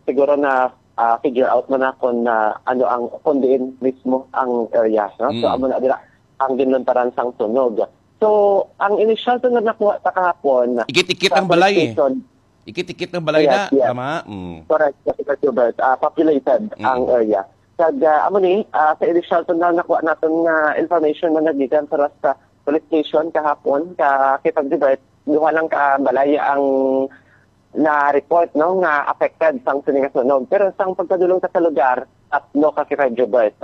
siguro na, ah, figure out mo na kung, ah, ano ang, kung diin mismo ang area, no? So, Mm. amo na dira ang ginluntaran sang sunog. So, ang initial to nga nakuha sa kahapon, Ikit-ikit sa ang balay, eh. police station, Ikit-ikit ang balay Yes, na, yes. tama? Mm. Correct, Kaka Gilbert. Ah, populated Mm. ang area. Kag, ah, amo ni, ah, sa initial to na nakuha naton nga information nga nagikan sa Rasta Police Station kahapon, ka Kaka Gilbert, duha lang ka balay ang na-report, no, nga affected sang sini nga sunog. Pero sang pagpadulong ta sa lugar, tatlo ka Kaka Gilbert,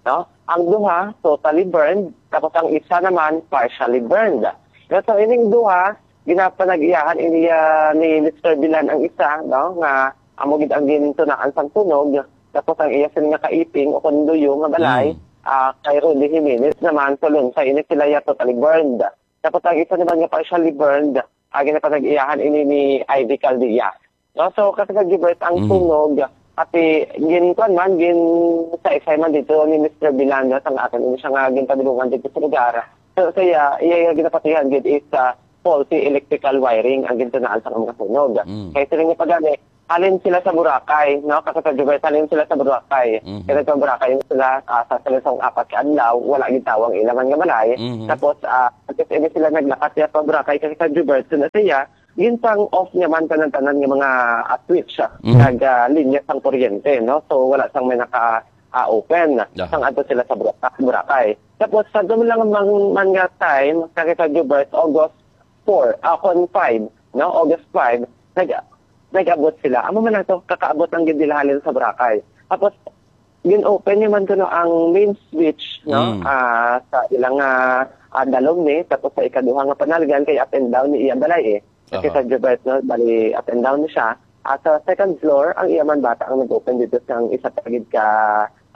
no? Ang duha, totally burned, tapos ang isa naman, partially burned. Pero sa ining duha, ginapanag-iyahan ini, ah, ni Mister Bilan ang isa, no, nga amo gid ang gintunaan sang sunog. Tapos ang iya sini nga kaiping o kon luyo nga balay, Mm. ah, kay Rudy Jimenez naman, so lunsay ini sila ya totally burned. Tapos ang isa naman nga partially burned, ah, ginapanag-iyahan ini ni Ivy Caldea. No? So, Kaka Gilbert, ang Mhm. sunog, Ati, gin-, kuwan man, gin-, sa isay man dito ni Mister Bilan, no, sang aton, ini siya nga ginpadulungan dito sa lugar. So, sa iya, iya, iya ginapatihan gid is, ah, faulty electrical wiring ang gintunaan sa mga sunog. Mm. Kaya sila nga pagani, halin sila sa Boracay, no? Kasi sa Jubert, halin sila sa Boracay. Mhm. Kaya sa Boracay sila, ah, sa, sa isang apat ka adlaw, wala gid tawo ang ila man nga balay. Mhm. Tapos, ah, tapos ini sila naglakat niya pa Boracay kasi sa Jubert, so na siya, ginsang off niya man tanan-tanan nga mga, ah, switch, ah, Mhm. kag, ah, linya sang kuryente, no? So, wala sang may naka, ah, open Aha. sang adto sila sa Bora-, Boracay. Tapos, sa dulo lang man, man nga time, kag sa Jubert, August four, ah, kon five, no? August five, nag-, nag-abot sila. Amo man ato, kakaabot lang gid nila halin sa Boracay. Tapos, gin-open niya man kuno ang main switch, no? Mm. Ah, sa ilang, ah, ah, dalom ni, tapos sa ikaduha nga panaligan kay up and down ni iya balay, eh. Kasi Aha. sa Jubert, no? Bali, up and down ni siya. Ah, sa second floor, ang iya man bata ang nag-open dito sang isa pa gid ka,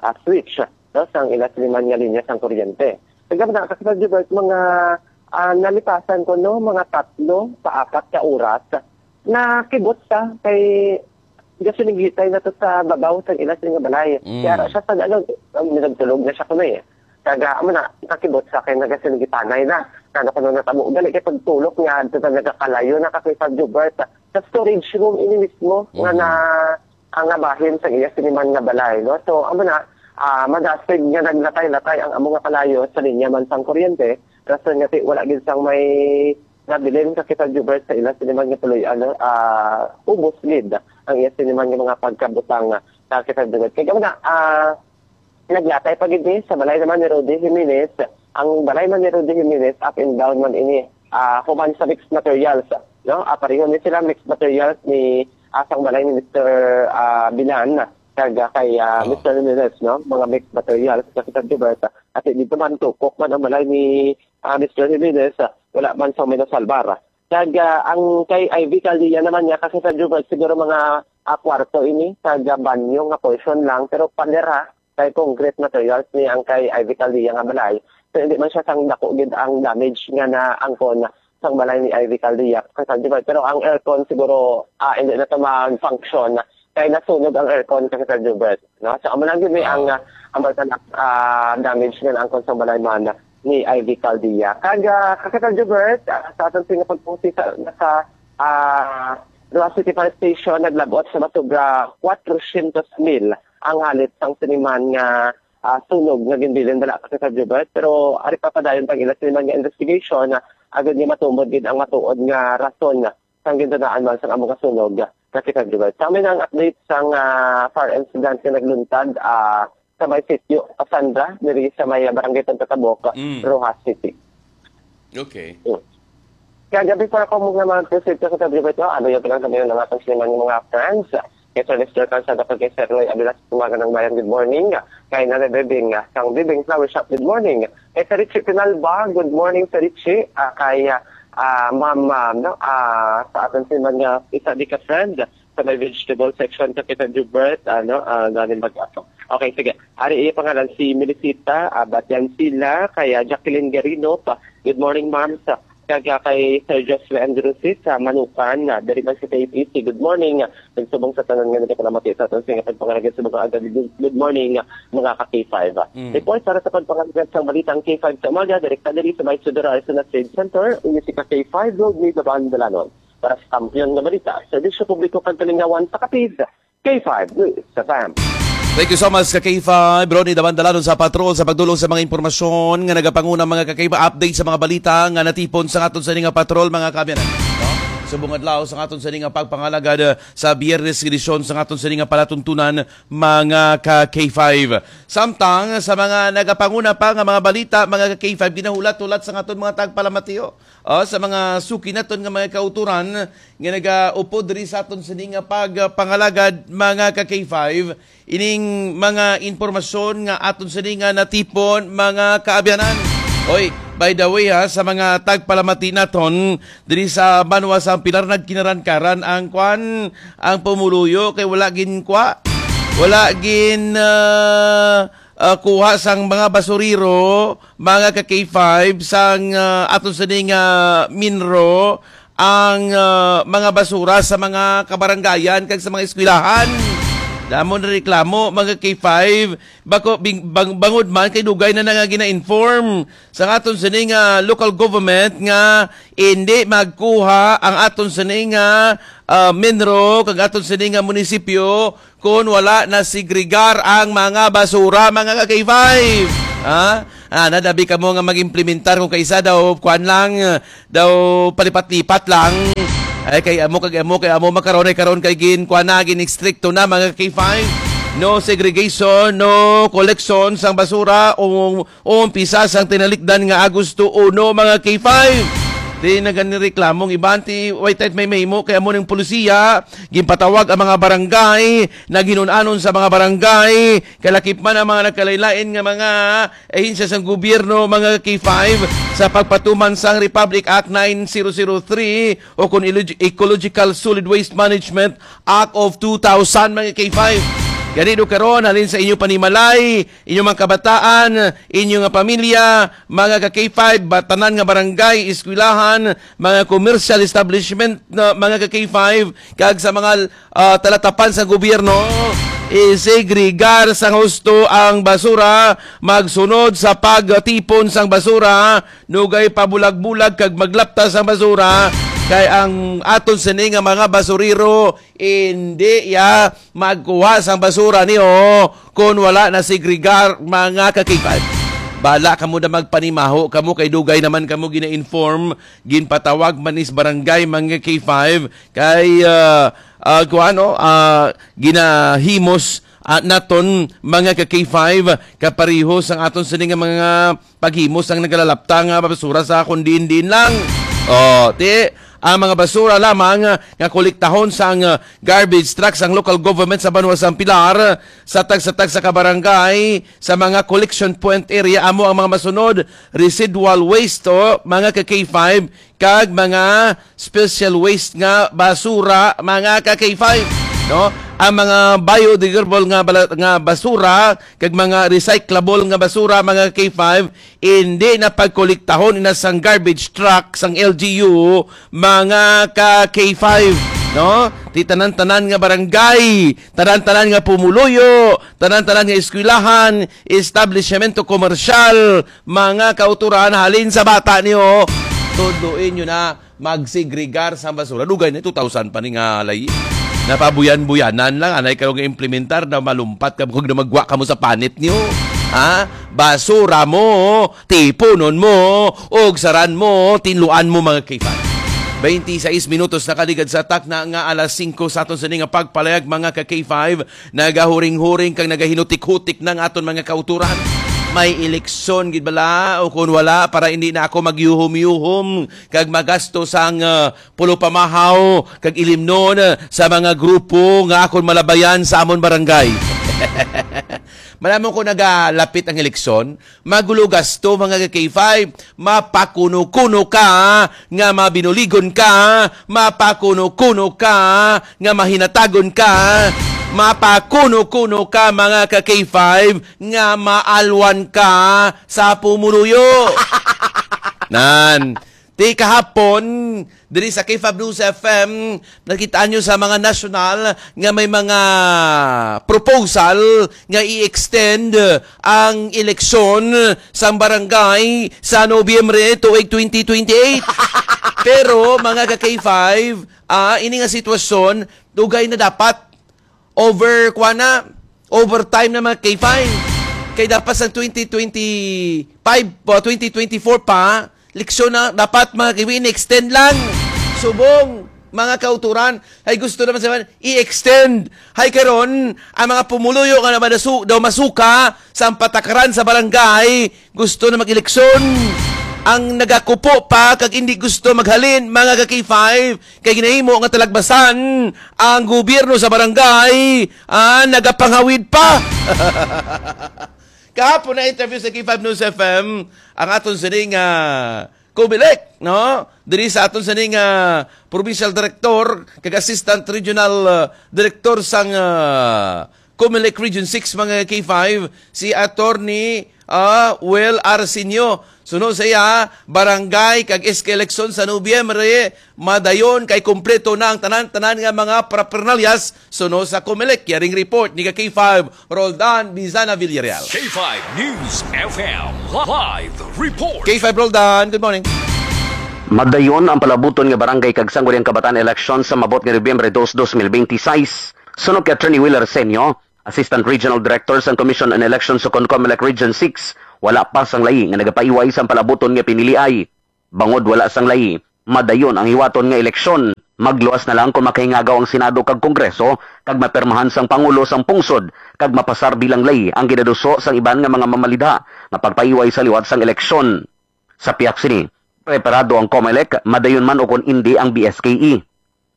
ah, switch, no? Sang ila siniman nga linya sang kuryente. Kaya na, kasi sa Jubert, mga, ah, nalipasan ko, no? Mga tatlo pa apat ka oras na kibot sa kay gasinigitay na to sa babaw sa ila sila nga balay. Mm. Kaya ra siya sa ano, um, nagtulog na siya kuno eh. Kaga, amo na, nakibot sa kay nagasigitanay na. Kano kuno natabo, gali kay pagtulog nga, dito na nagakalayo na kasi sa Jubert. Sa storage room, ini mismo, nga Mm. na, ang nabahin sa iya siniman nga balay, no? So, amo na, ah, madasig nga naglatay-latay ang amo nga kalayo sa linya man sang kuryente. Rason nga ti, wala gid sang may nabilin sa kita Jubert sa ila siniman nga tuloy, ano, ah, ubos gid ang iya siniman nga mga pagkabutang, ah, sa kita Jubert. Kaya na, ah, naglatay pa gid ni sa balay naman ni Rudy Jimenez. Ang balay man ni Rudy Jimenez, up and down man ini, ah, human sa mixed materials, no? Ah, pareho ni sila mixed materials ni, ah, sang balay ni Mister, ah, Bilan, kag, ah, kay, ah, Oo. Mister Jimenez, no? Mga mixed materials sa kita Jubert. At dito man, tukok man ang balay ni ah, Mister Jimenez, ah, wala man sang may nasalbar. Kag, ah, ang kay Ivy Caldea naman niya, kasi sa Jubal, siguro mga, ah, kwarto ini, kag, ah, banyo nga portion lang, pero pader ha, kay concrete materials ni ang kay Ivy Caldea nga balay. So, hindi man siya sang dako gid ang damage nga naangkon sang balay ni Ivy Caldea, kay sa Jubal. Pero ang aircon siguro, ah, hindi na to mag-function, kay nasunog ang aircon, Kapitan Jubert, no? So, amo lang gid ni ang, Ah. ah, ang balta na, ah, damage nga naangkon sa balay man ni Ivy Caldea. Kag, ah, Kapitan Jubert, ah, sa aton sini nga pagpusi sa, sa, ah, Roxas City Fire Station, naglabot sa masobra kwatrocientos mil ang halit sang siniman nga, ah, sunog nga ginbilin bala, Kapitan Jubert. Pero ari pa padayon pag ila siniman nga investigation, ah, agud nga matumod gid ang matuod nga rason sang gintunaan man sang amo nga sunog, Kapitan Jubal. Sa amin ang update sang, ah, fire incident nga nagluntad, ah, sa may sitio Cassandra, diri sa may, ah, Barangay Punta Tabok, Mm. Roxas City. Okay. Mm. Kaya gabi pa ako mga mga sitio sa Jubal, no? Ano yung pinagsabihan ng ating siniman yung mga friends? Kay Sir Lester Calzada, kay Sir Roy Abilas, umaga ng bayan, good morning. Kay Nanay Bebing, ah, sang Bebing Flower Shop, good morning. Kay Sir Richie Pinalba, good morning, Sir Richie. Ah, kay, ah, ah, Ma'am, ah, no, ah, sa aton si mga isa di ka friend sa may vegetable section, Kapitan Jubert, ano, ah, galing mag-ato. Okay, sige. Ari iya pangalan si Melicita, ah, Batian sila, kay, ah, Jacqueline Garino pa. Good morning, ma'am. Sa, kag, ah, kay Sir Joshua Andrusis sa Manukan, ah, diri man sa K P C. Good morning. Nagsubong sa tanan nga nagapamati sa aton sa nga pagpangalagad sa mga agad. Good, good morning, mga ka K five. Mm. Report para sa pagpangalagad sa balita ang K five sa umaga, direkta diri sa may Sudor Arizona Trade Center, unya si ka K five Road, may Babaan Dalanon. Para sa kampiyon nga balita, serbisyo publiko kag kalingawan sa kapid, K five News F M. Thank you so much, ka K five. Ronnie Dabandalanon sa patrol sa pagdulong sa mga impormasyon nga nagapanguna, mga ka K five, update sa mga balita nga natipon sa aton sa nga patrol, mga kaabyanan. No? Subong adlaw sa aton sa nga pagpangalagad, uh, sa Biyernes edisyon sa aton sa nga palatuntunan, mga ka K five. Samtang sa mga nagapanguna pa nga mga balita, mga ka K five, ginahulat-hulat sa aton mga tagpalamatiyo. Oh, sa mga suki naton nga mga kauturan nga nagaupod diri sa aton sini nga pagpangalagad, mga ka K five, ining mga impormasyon nga aton sini nga natipon, mga kaabyanan. Oy, by the way ha, sa mga tagpalamati naton diri sa banwa sa Pilar, nagkinarankaran ang kwan, ang pumuluyo kay wala gin kwa, wala gin, ah, ah, kuha sang mga basurero, mga ka K five, sang, ah, aton sini nga MINRO, ang, ah, mga basura sa mga kabarangayan kag sa mga eskwelahan. Amo na reklamo, mga K five, bako, bing-, bang-, bangod man kay dugay na na nga gina-inform sa aton sini nga local government nga hindi magkuha ang aton sini nga, ah, MINRO kag aton sini nga munisipyo kon wala na segregar ang mga basura, mga ka-K five. Ha? Ah, nadabi kamo nga mag-implementar kung kaisa daw, kuan lang, daw palipat-lipat lang. Ay, kay amo, kag amo, kay amo, makaron ay karon kay gin, kuan na, gin-estrikto na, mga K five. No segregation, no collection sang basura o, o umpisa sang tinalikdan nga Agosto uno, mga K five. Di na gani reklamong iban ti, wait, wait, may mahimo kay amo ning polisiya, ginpatawag ang mga barangay, naghinunanon sa mga barangay, kalakip man ang mga nagkalain-lain nga mga ahensya sang gobyerno, mga K five, sa pagpatuman sang Republic Act nine zero zero three o kon Ecologi-, Ecological Solid Waste Management Act of two thousand, mga K five. Gani do karon, halin sa inyo panimalay, inyo mga kabataan, inyo nga pamilya, mga ka-K five, ba-, tanan nga barangay, eskwelahan, mga commercial establishment, na mga ka-K five, kag sa mga, ah, talatapan sa gobyerno, isegregar sang husto ang basura, magsunod sa pagtipon sang basura, nugay pabulag-bulag kag maglapta sang basura, kay ang aton sini nga mga basurero, hindi ya magkuha sang basura niyo kon wala na segregar, mga ka-K five. Bala kamo na magpanimaho kamo kay dugay naman kamo gina-inform, ginpatawag man is barangay, mga K five, kay, ah, ah, kuan, no, ah, ginahimos, ah, naton, mga ka-K five, kapareho sang aton sini nga mga paghimo sang nagalalapta nga basura sa kon diin-diin lang. Oh, ti, ang mga basura lamang nga kolektahon sang, ah, garbage truck sang local government sa banwa sang Pilar, sa tagsa-tagsa ka barangay, sa mga collection point area, amo ang mga masunod: residual waste, oh, mga ka-K five, kag mga special waste nga basura, mga ka-K five, no? Ang mga biodegradable nga bala-, nga basura kag mga recyclable nga basura, mga K five, hindi na pagkolektahon ina sang garbage truck sang L G U, mga ka-K five, no? Ti tanan-tanan nga barangay, tanan-tanan nga pumuluyo, tanan-tanan nga eskwelahan, establishmento komersyal, mga kauturan, halin sa bata niyo, tudloin niyo na magsegregar sa basura. Dugay na, two thousand pa ni nga lay. Napabuyan-buyanan lang, anay kayo nga implementar na malumpat kamo kag na magwa kamo sa panit niyo. Ha? Basura mo, tipunon mo, og saran mo, tinluan mo, mga K five. Twenty-six minutos nakaligad sa takna nga alas singko sa aton sini nga pagpalayag, mga ka-K five. Nagahuring-huring kag nagahinutik-hutik na ang aton mga kauturan. May eleksyon gid bala o kun wala, para hindi na ako magyuhom-yuhom kag magasto sang, ah, pulo pamahaw kag ilimnon, ah, sa mga grupo nga akon malabayan sa amon barangay. Malamon ko nagalapit ang eleksyon, magulo gasto, mga ka-K five. Mapakuno-kuno ka nga mabinuligon ka, mapakuno-kuno ka nga mahinatagon ka, mapakuno-kuno ka, mga ka-K five, nga maalwan ka sa pumuluyo. Nan, ti kahapon, diri sa K five News F M, nakita nyo sa mga national nga may mga proposal nga i-extend ang eleksyon sang barangay sa Nobyembre tuig twenty twenty-eight. Pero, mga ka-K five, ah, ini nga sitwasyon, dugay na dapat. Over, kuha na, overtime na, mga K five. Kay dapat sa twenty twenty-five, o twenty twenty-four pa, eleksyon na, dapat, mga K five, in-extend lang. Subong, mga kauturan, ay gusto naman sa i-extend. Hay karon, ang mga pumuluyo nga naman nasu-, daw masuka sa patakaran sa barangay, gusto na mag-eleksyon. Ang nagakupo pa kag hindi gusto maghalin, mga ka-K five, kay ginahimo nga talagbasan ang gobyerno sa barangay, ah, nagapanghawid pa. Kahapon na interview sa K five News F M ang aton sining, ah, Comelec, no? Diri sa aton sining, ah, provincial director kag assistant regional, ah, director sang, ah, Comelec Region six, mga K five, si Attorney Ah, Will Arsenio. Suno sa iya, barangay kag S K eleksyon sa Nobyembre, madayon kay kumpleto na ang tanan-tanan nga mga paraphernalyas suno sa Comelec. Yaring report ni ka K five, Roldan Bizana Villarreal. K five News F M live report. K five Roldan, good morning. Madayon ang palabuton nga barangay kag sangguniang kabataan eleksyon sa mabot nga Nobyembre dos, dos mil benti sais. Suno kay Attorney Will Arsenio, Assistant Regional Director sang Commission on Elections sa Comelec Region six, wala pa sang layi nga nagapaiway sang palabuton nga piniliay. Bangod wala sang layi, madayon ang hiwaton nga eleksyon. Magluwas na lang kung makahingagaw ang Senado kag Kongreso kag mapirmahan sang Pangulo sang pungsod kag mapasar bilang layi ang ginaduso sang iban nga mga mamalidha nga pagpaiway sa liwat sang eleksyon. Sa pihak sini, preparado ang Comelec, madayon man o kon indi ang B S K E.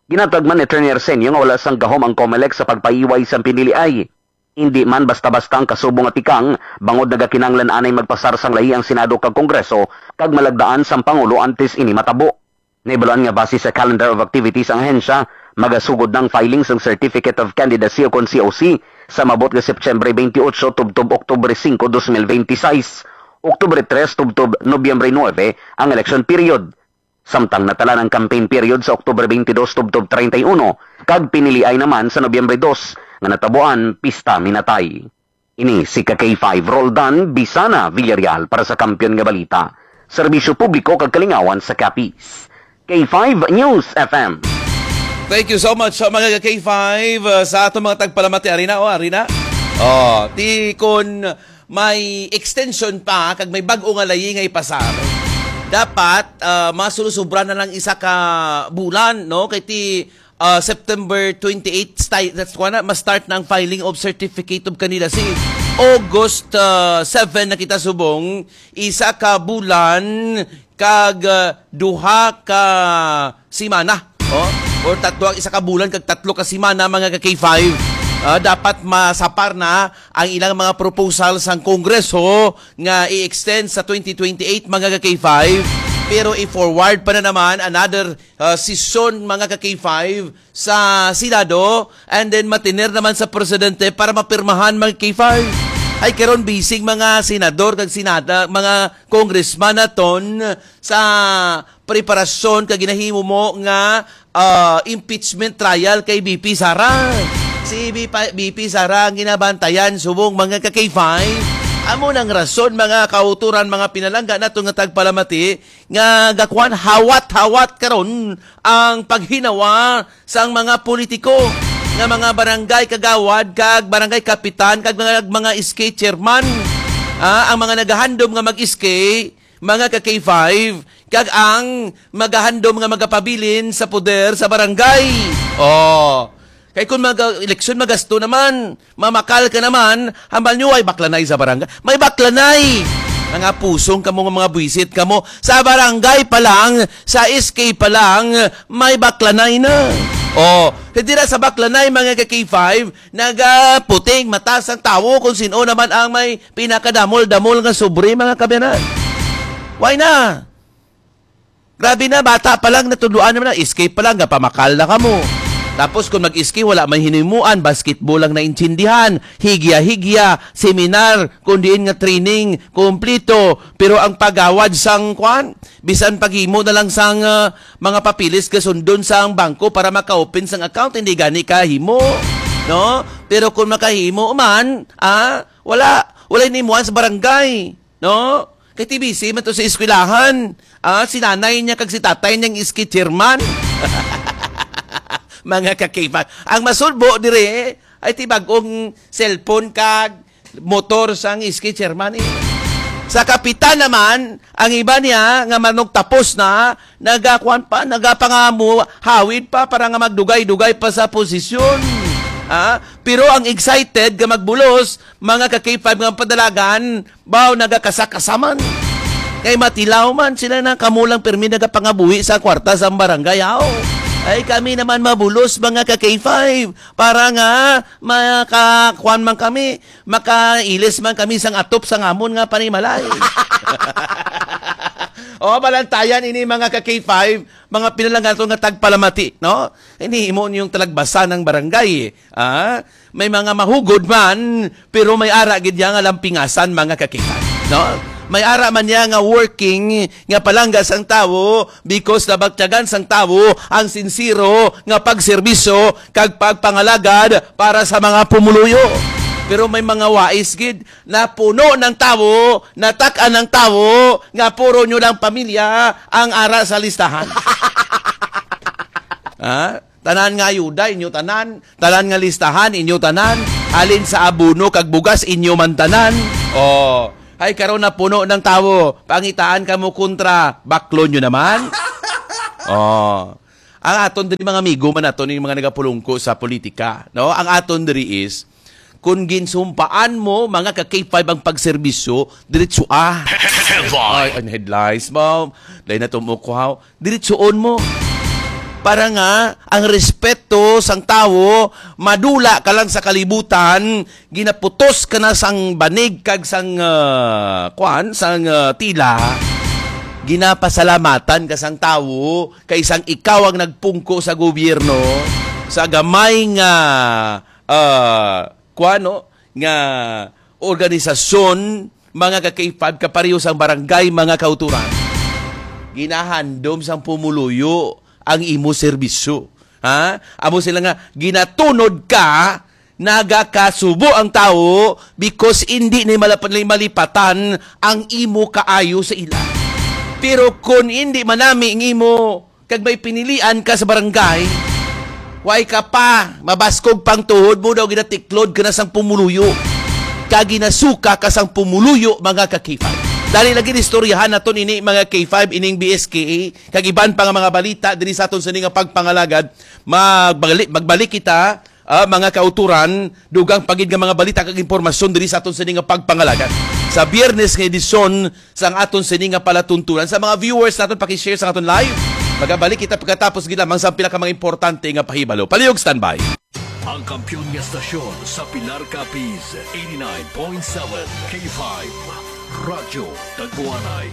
Ginatag man ni Attorney Arsenio nga wala sang gahom ang Comelec sa pagpaiway sang piniliay. Indi man basta-basta ang kasubong nga tikang, bangod nagakinahanglan anay magpasar sang layi ang Senado kag Kongreso kag malagdaan sang Pangulo antes ini matabo. Nahibaluan nga base sa calendar of activities ang ahensya, magasugod na ang filing sang Certificate of Candidacy o kon C O C sa mabot nga September twenty-eight tubtob Oktubre singko, dos mil benti sais, Oktubre tres tubtob Nobyembre nuebe ang election period. Samtang natalan ang campaign period sa Oktubre twenty-dos tubtob treinta y uno, kag piniliay naman sa Nobyembre dos, nga natabuan pista minatay. Ini si ka K five Roldan Bisana Villarreal para sa Kampiyon nga Balita, Serbisyo Publiko kag Kalingawan sa Capiz. K five News F M. Thank you so much sa mga ka K five, uh, sa aton mga tagpalamati. Arina, o, Arina. Oh, ti kun may extension pa kag may bag-o nga layi nga ipasar, dapat, ah, masulusubra na lang isa ka bulan, no? Kay ti, ah, September twenty-eight, sti-, that's why na, ma-start na ang filing of certificate of candidacy. August, ah, seven na kita subong, isa ka bulan kag, ah, duha ka simana, oh, or tatlo, isa ka bulan kag tatlo ka simana, mga ka K five. Ah, dapat masapar na ang ilang mga proposal sang Kongreso nga i-extend sa twenty twenty-eight, mga ka K five. Pero i-forward pa na naman another, ah, sesyon, mga ka K five, sa Senado, and then matiner naman sa presidente para mapirmahan, mga K five. Ay karon, bising mga senador kag senada, mga congressman naton sa preparasyon kag ginahimo mo nga, ah, impeachment trial kay V P Sara. Si V P, V P Sara ang ginabantayan subong, mga ka K five. Amo nang rason, mga kauturan, mga pinalangga nato nga tagpalamati, nga gakuan hawat-hawat karon ang paghinawa sang mga politiko nga mga barangay kagawad kag barangay kapitan kag mga, mga S K chairman. Ah, ang mga nagahandom nga mag-S K, mga ka K five, kag ang magahandom nga magapabilin sa poder sa barangay. Oh. Kay kung mag-eleksyon, magasto naman, mamakal ka naman, hambal nyo, ay baklanay sa barangay. May baklanay! Mga pusong kamo nga mga buwisit kamo. Sa barangay pa lang, sa S K pa lang, may baklanay na. Oh, kay dira sa baklanay, mga ka K five, nagaputing mata sang tawo kung sino naman ang may pinakadamol-damol nga sobre, mga kabyanan. Why na? Grabe na, bata pa lang, natudloan naman na, S K pa lang, gapamakal na kamo. Tapos kung mag-S K, wala may hinimuan, basketball lang naintindihan, higya-higya, seminar, kung diin nga training, kumplito. Pero ang pagawad sang, kwan, bisan paghimo na lang sang, ah, mga papilis kasundon sang bangko para maka-open sang account, hindi gani kahimo, no? Pero kung makahimo man, ah, wala, wala hinimuan sa barangay. No? Kay T B C man to sa eskwelahan. Ah, si nanay niya kag si tatay niya ang S K chairman. Mga ka-K five. Ang masulbo dire ay ti bag-ong cellphone kag motor sang S K chairman, eh. Sa kapitan naman, ang iba niya nga manugtapos na, nagakuan pa, nagapangamu, hawid pa para nga magdugay-dugay pa sa posisyon. Ha? Pero ang excited nga magbulos, mga ka-K five nga padalagan, baw nagakasakasaman. Kay matilaw man sila na kamo lang pirmi nagapangabuhi sa kwarta sa barangay, aw. Ay, kami naman mabulos, mga ka-K five, para nga makakuan man kami, makailis man kami sang atop sang amon nga panimalay. O, balantayan ini, mga ka-K five, mga pinalangato nga tagpalamati, no? Ini imo niyong talagbasa ng barangay. Ah, may mga mahugod man, pero may ara gid ya nga lampingasan, mga ka-K five. No? May ara man niya nga working nga palangga sang tawo because nabatyagan sang tawo ang sinsero nga pagserbisyo kag pagpangalagad para sa mga pumuluyo. Pero may mga wais gid, napuno ng tawo, natak-an ng tawo, nga puro nyo lang pamilya ang ara sa listahan. Ha? Tanan nga ayuda, inyo tanan. Tanan nga listahan, inyo tanan. Halin sa abono kag bugas, inyo man tanan. Oh, ay karon na puno ng tawo. Pangitaan ka mo kontra, baklo nyo naman. Oh. Ang aton diri, mga amigo man nato, ning mga nagapulungko sa politika, no? Ang aton diri is, kung ginsumpaan mo, mga ka K five, ang pagserbisyo, diretso ah. Headline. Ay, ang headlines mo. Dahil na tumukwaw. Diretsoon mo. Para nga, ang respeto sang tawo, madula ka lang sa kalibutan, ginaputos ka na sang banig kag sang, ah, kwan, sang, ah, tila. Ginapasalamatan ka sang tawo, kay sang ikaw ang nagpungko sa gobyerno, sa gamay nga, ah, kwan, no, nga organisasyon, mga ka K five, kapareho sang barangay, mga kauturan. Ginahandom sang pumuluyo ang imo serbisyo. Ha? Amo sila nga, ginatunod ka, nagakasubo ang tawo because hindi ni malap-, ni malipatan ang imo kaayo sa ila. Pero kung hindi manami ang imo, kag may pinilian ka sa barangay, way ka pa, mabaskog pang tuhod mo daw, ginatiklod ka na sang pumuluyo. Kag ginasuka ka sang pumuluyo, mga ka K five. Dali lagi istoryahan naton ini, mga K five, ining B S K A, kag iban pa nga mga balita diri sa aton sini nga pagpangalagad. Magbali-, magbalik kita, ah, mga kauturan, dugang pa gid nga mga balita kag impormasyon diri sa aton sini nga pagpangalagad. Sa Biyernes nga edisyon sang aton sini nga palatuntunan. Sa mga viewers naton, paki-share sa aton live. Magabalik kita pagkatapos gid lamang sa pila ka mga importante nga pahibalo. Palihog standby. Ang kampiyon nga stasyon sa Pilar Capiz, eighty-nine point seven K five, Radyo Tagwanay.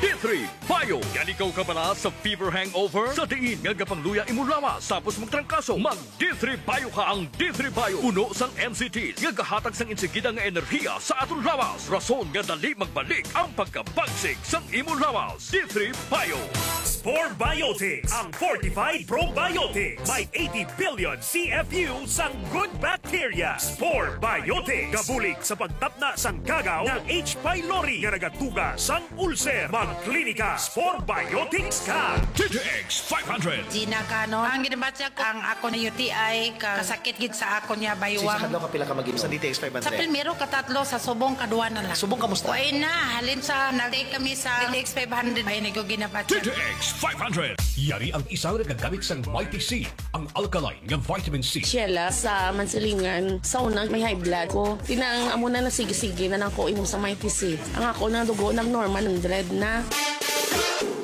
D three Bio. Yan ikaw kabala sa fever hangover? Sa diin nga gapangluya imo lawas tapos magtrangkaso, mag D three Bio ka. Ang D three Bio puno sang M C T nga gahatag sang insigida nga enerhiya sa aton lawas, rason nga dali magbalik ang pagkabagsik sang imo lawas. D three Bio. Spore Biotics, ang fortified probiotics. May eighty billion C F U sang good bacteria. Spore Biotics, gabulig sa pagtapna sang gagaw nga H. pylori nga nagatuga sang ulcer. Magklinika Spore Biotics ka. D T X five hundred. Gina Cano. Ang ginabatya ko, ang ako na U T I, ka-, kasakit gid sa akon nga baywang. Sa kadlaw ka pila ka mag-inom sa D T X five hundred? Sa primero, katatlo, sa subong, kadua na lang. Subong, kamusta? Way na, halin sa nag-take kami sa D T X five hundred, ay, nigo ginabatya. D T X five hundred. Yari ang isa nga gamit sang Mighty C, ang alkaline nga vitamin C. Sheila sa Mansilingan. Sa una, may high blood ko. Tinang amo na, nasige-sige na lang ko inom sa Mighty C. Ang ako na dugo nag-normal, hundred na.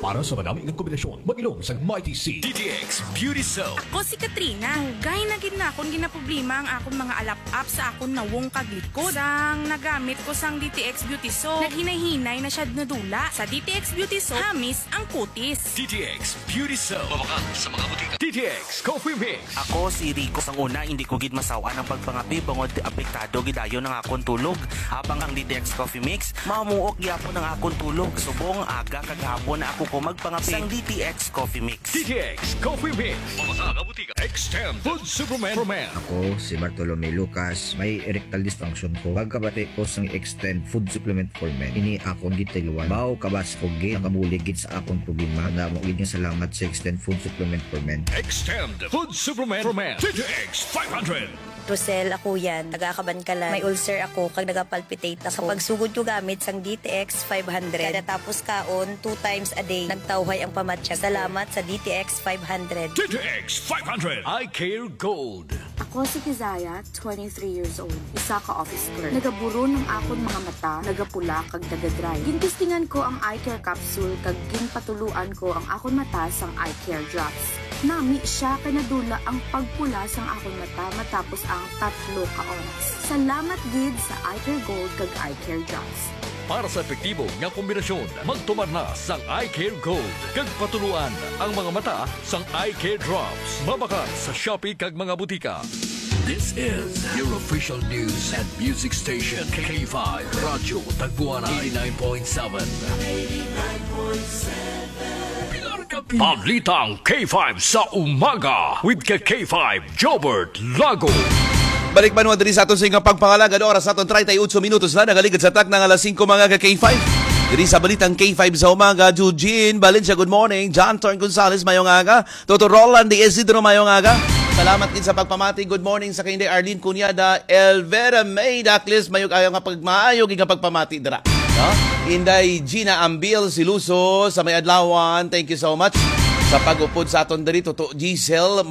Para sa madami nga kombinasyon, mag-inom sang Mighty C. D T X Beauty Soap. Ako si Katrina. Dugay na gid na akon ginaproblema ang akon mga alap-ap sa akon nawong kag likod. Sang nagamit ko sang D T X Beauty Soap, naghinay-hinay na siya nadula. Sa D T X Beauty Soap, hamis ang kutis. D T X Beauty Soap. Mabakal sa mga butika. D T X Coffee Mix. Ako si Rico. Sang una, hindi ko gid masaw-an ang pagpangape bangod apektado gid dayon ang akon tulog. Habang ang D T X Coffee Mix, mamuok gyapon ang akon tulog. Subong, aga kag hapon na ako ko magpangape. Sang D T X Coffee Mix. D T X Coffee Mix. Mabakal sa mga butika. Extend Food Supplement for Men. Ako si Bartolome Lucas. May erectile dysfunction ko. Pagkabati ko sang Extend Food Supplement for Men, ini akon gitiluan. Baw kabaskog gid, nakabulig gid sa akon problema. Damo gid nga salamat sa Extend Food Supplement for Men. Extend Food Supplement for Men. D T X five hundred. Rosel, ako yan. Taga Kabankalan. May ulcer ako, kag nagapalpitate ako. Sa pagsugod ko gamit sang D T X five hundred, kada tapos kaon, two times a day, nagtawhay ang pamatyag ko. Salamat sa D T X five hundred. D T X five hundred. Eye Care Gold. Ako si Kizaya, twenty-three years old, isa ka office clerk. Nagaburon ang akon mga mata, nagapula kag nagadry. Gintestingan ko ang eye care capsule kag ginpatuluan ko ang akon mata sang eye care drops. Nami siya kay nadula ang pagpula sang akon mata matapos ang tatlo ka oras. Salamat gid sa Eye Care Gold kag Eye Care Drops. Para sa epektibo nga kombinasyon, magtumar na sang Eye Care Gold kag patuluan ang mga mata sang Eye Care Drops. Mabakal sa Shopee kag mga butika. This is your official news and music station, K five Radyo Tagpuanan eighty-nine point seven. Balitang K five sa umaga with ka K five Jobert Lago. Balik man diri sa aton sa nga pagpangalagad, oras sa aton treinta y ocho minutos na, nagaligid sa takna nga alas singko, mga ka K five. Diri sa balitang K five sa umaga, Eugene Valencia, good morning. John Thorn Gonzalez, mayong aga. Toto Roland de Isidro, mayong aga. Salamat gid sa pagpamati. Good morning sa kay Inday Arlene Cunyada, Elvera May Dacles, mayong aga nga pagmaayo gid nga pagpamati dira. No? Inday Gina Ambil Siluso sa may adlawan, thank you so much sa pag-upod sa aton diri. Toto Giselle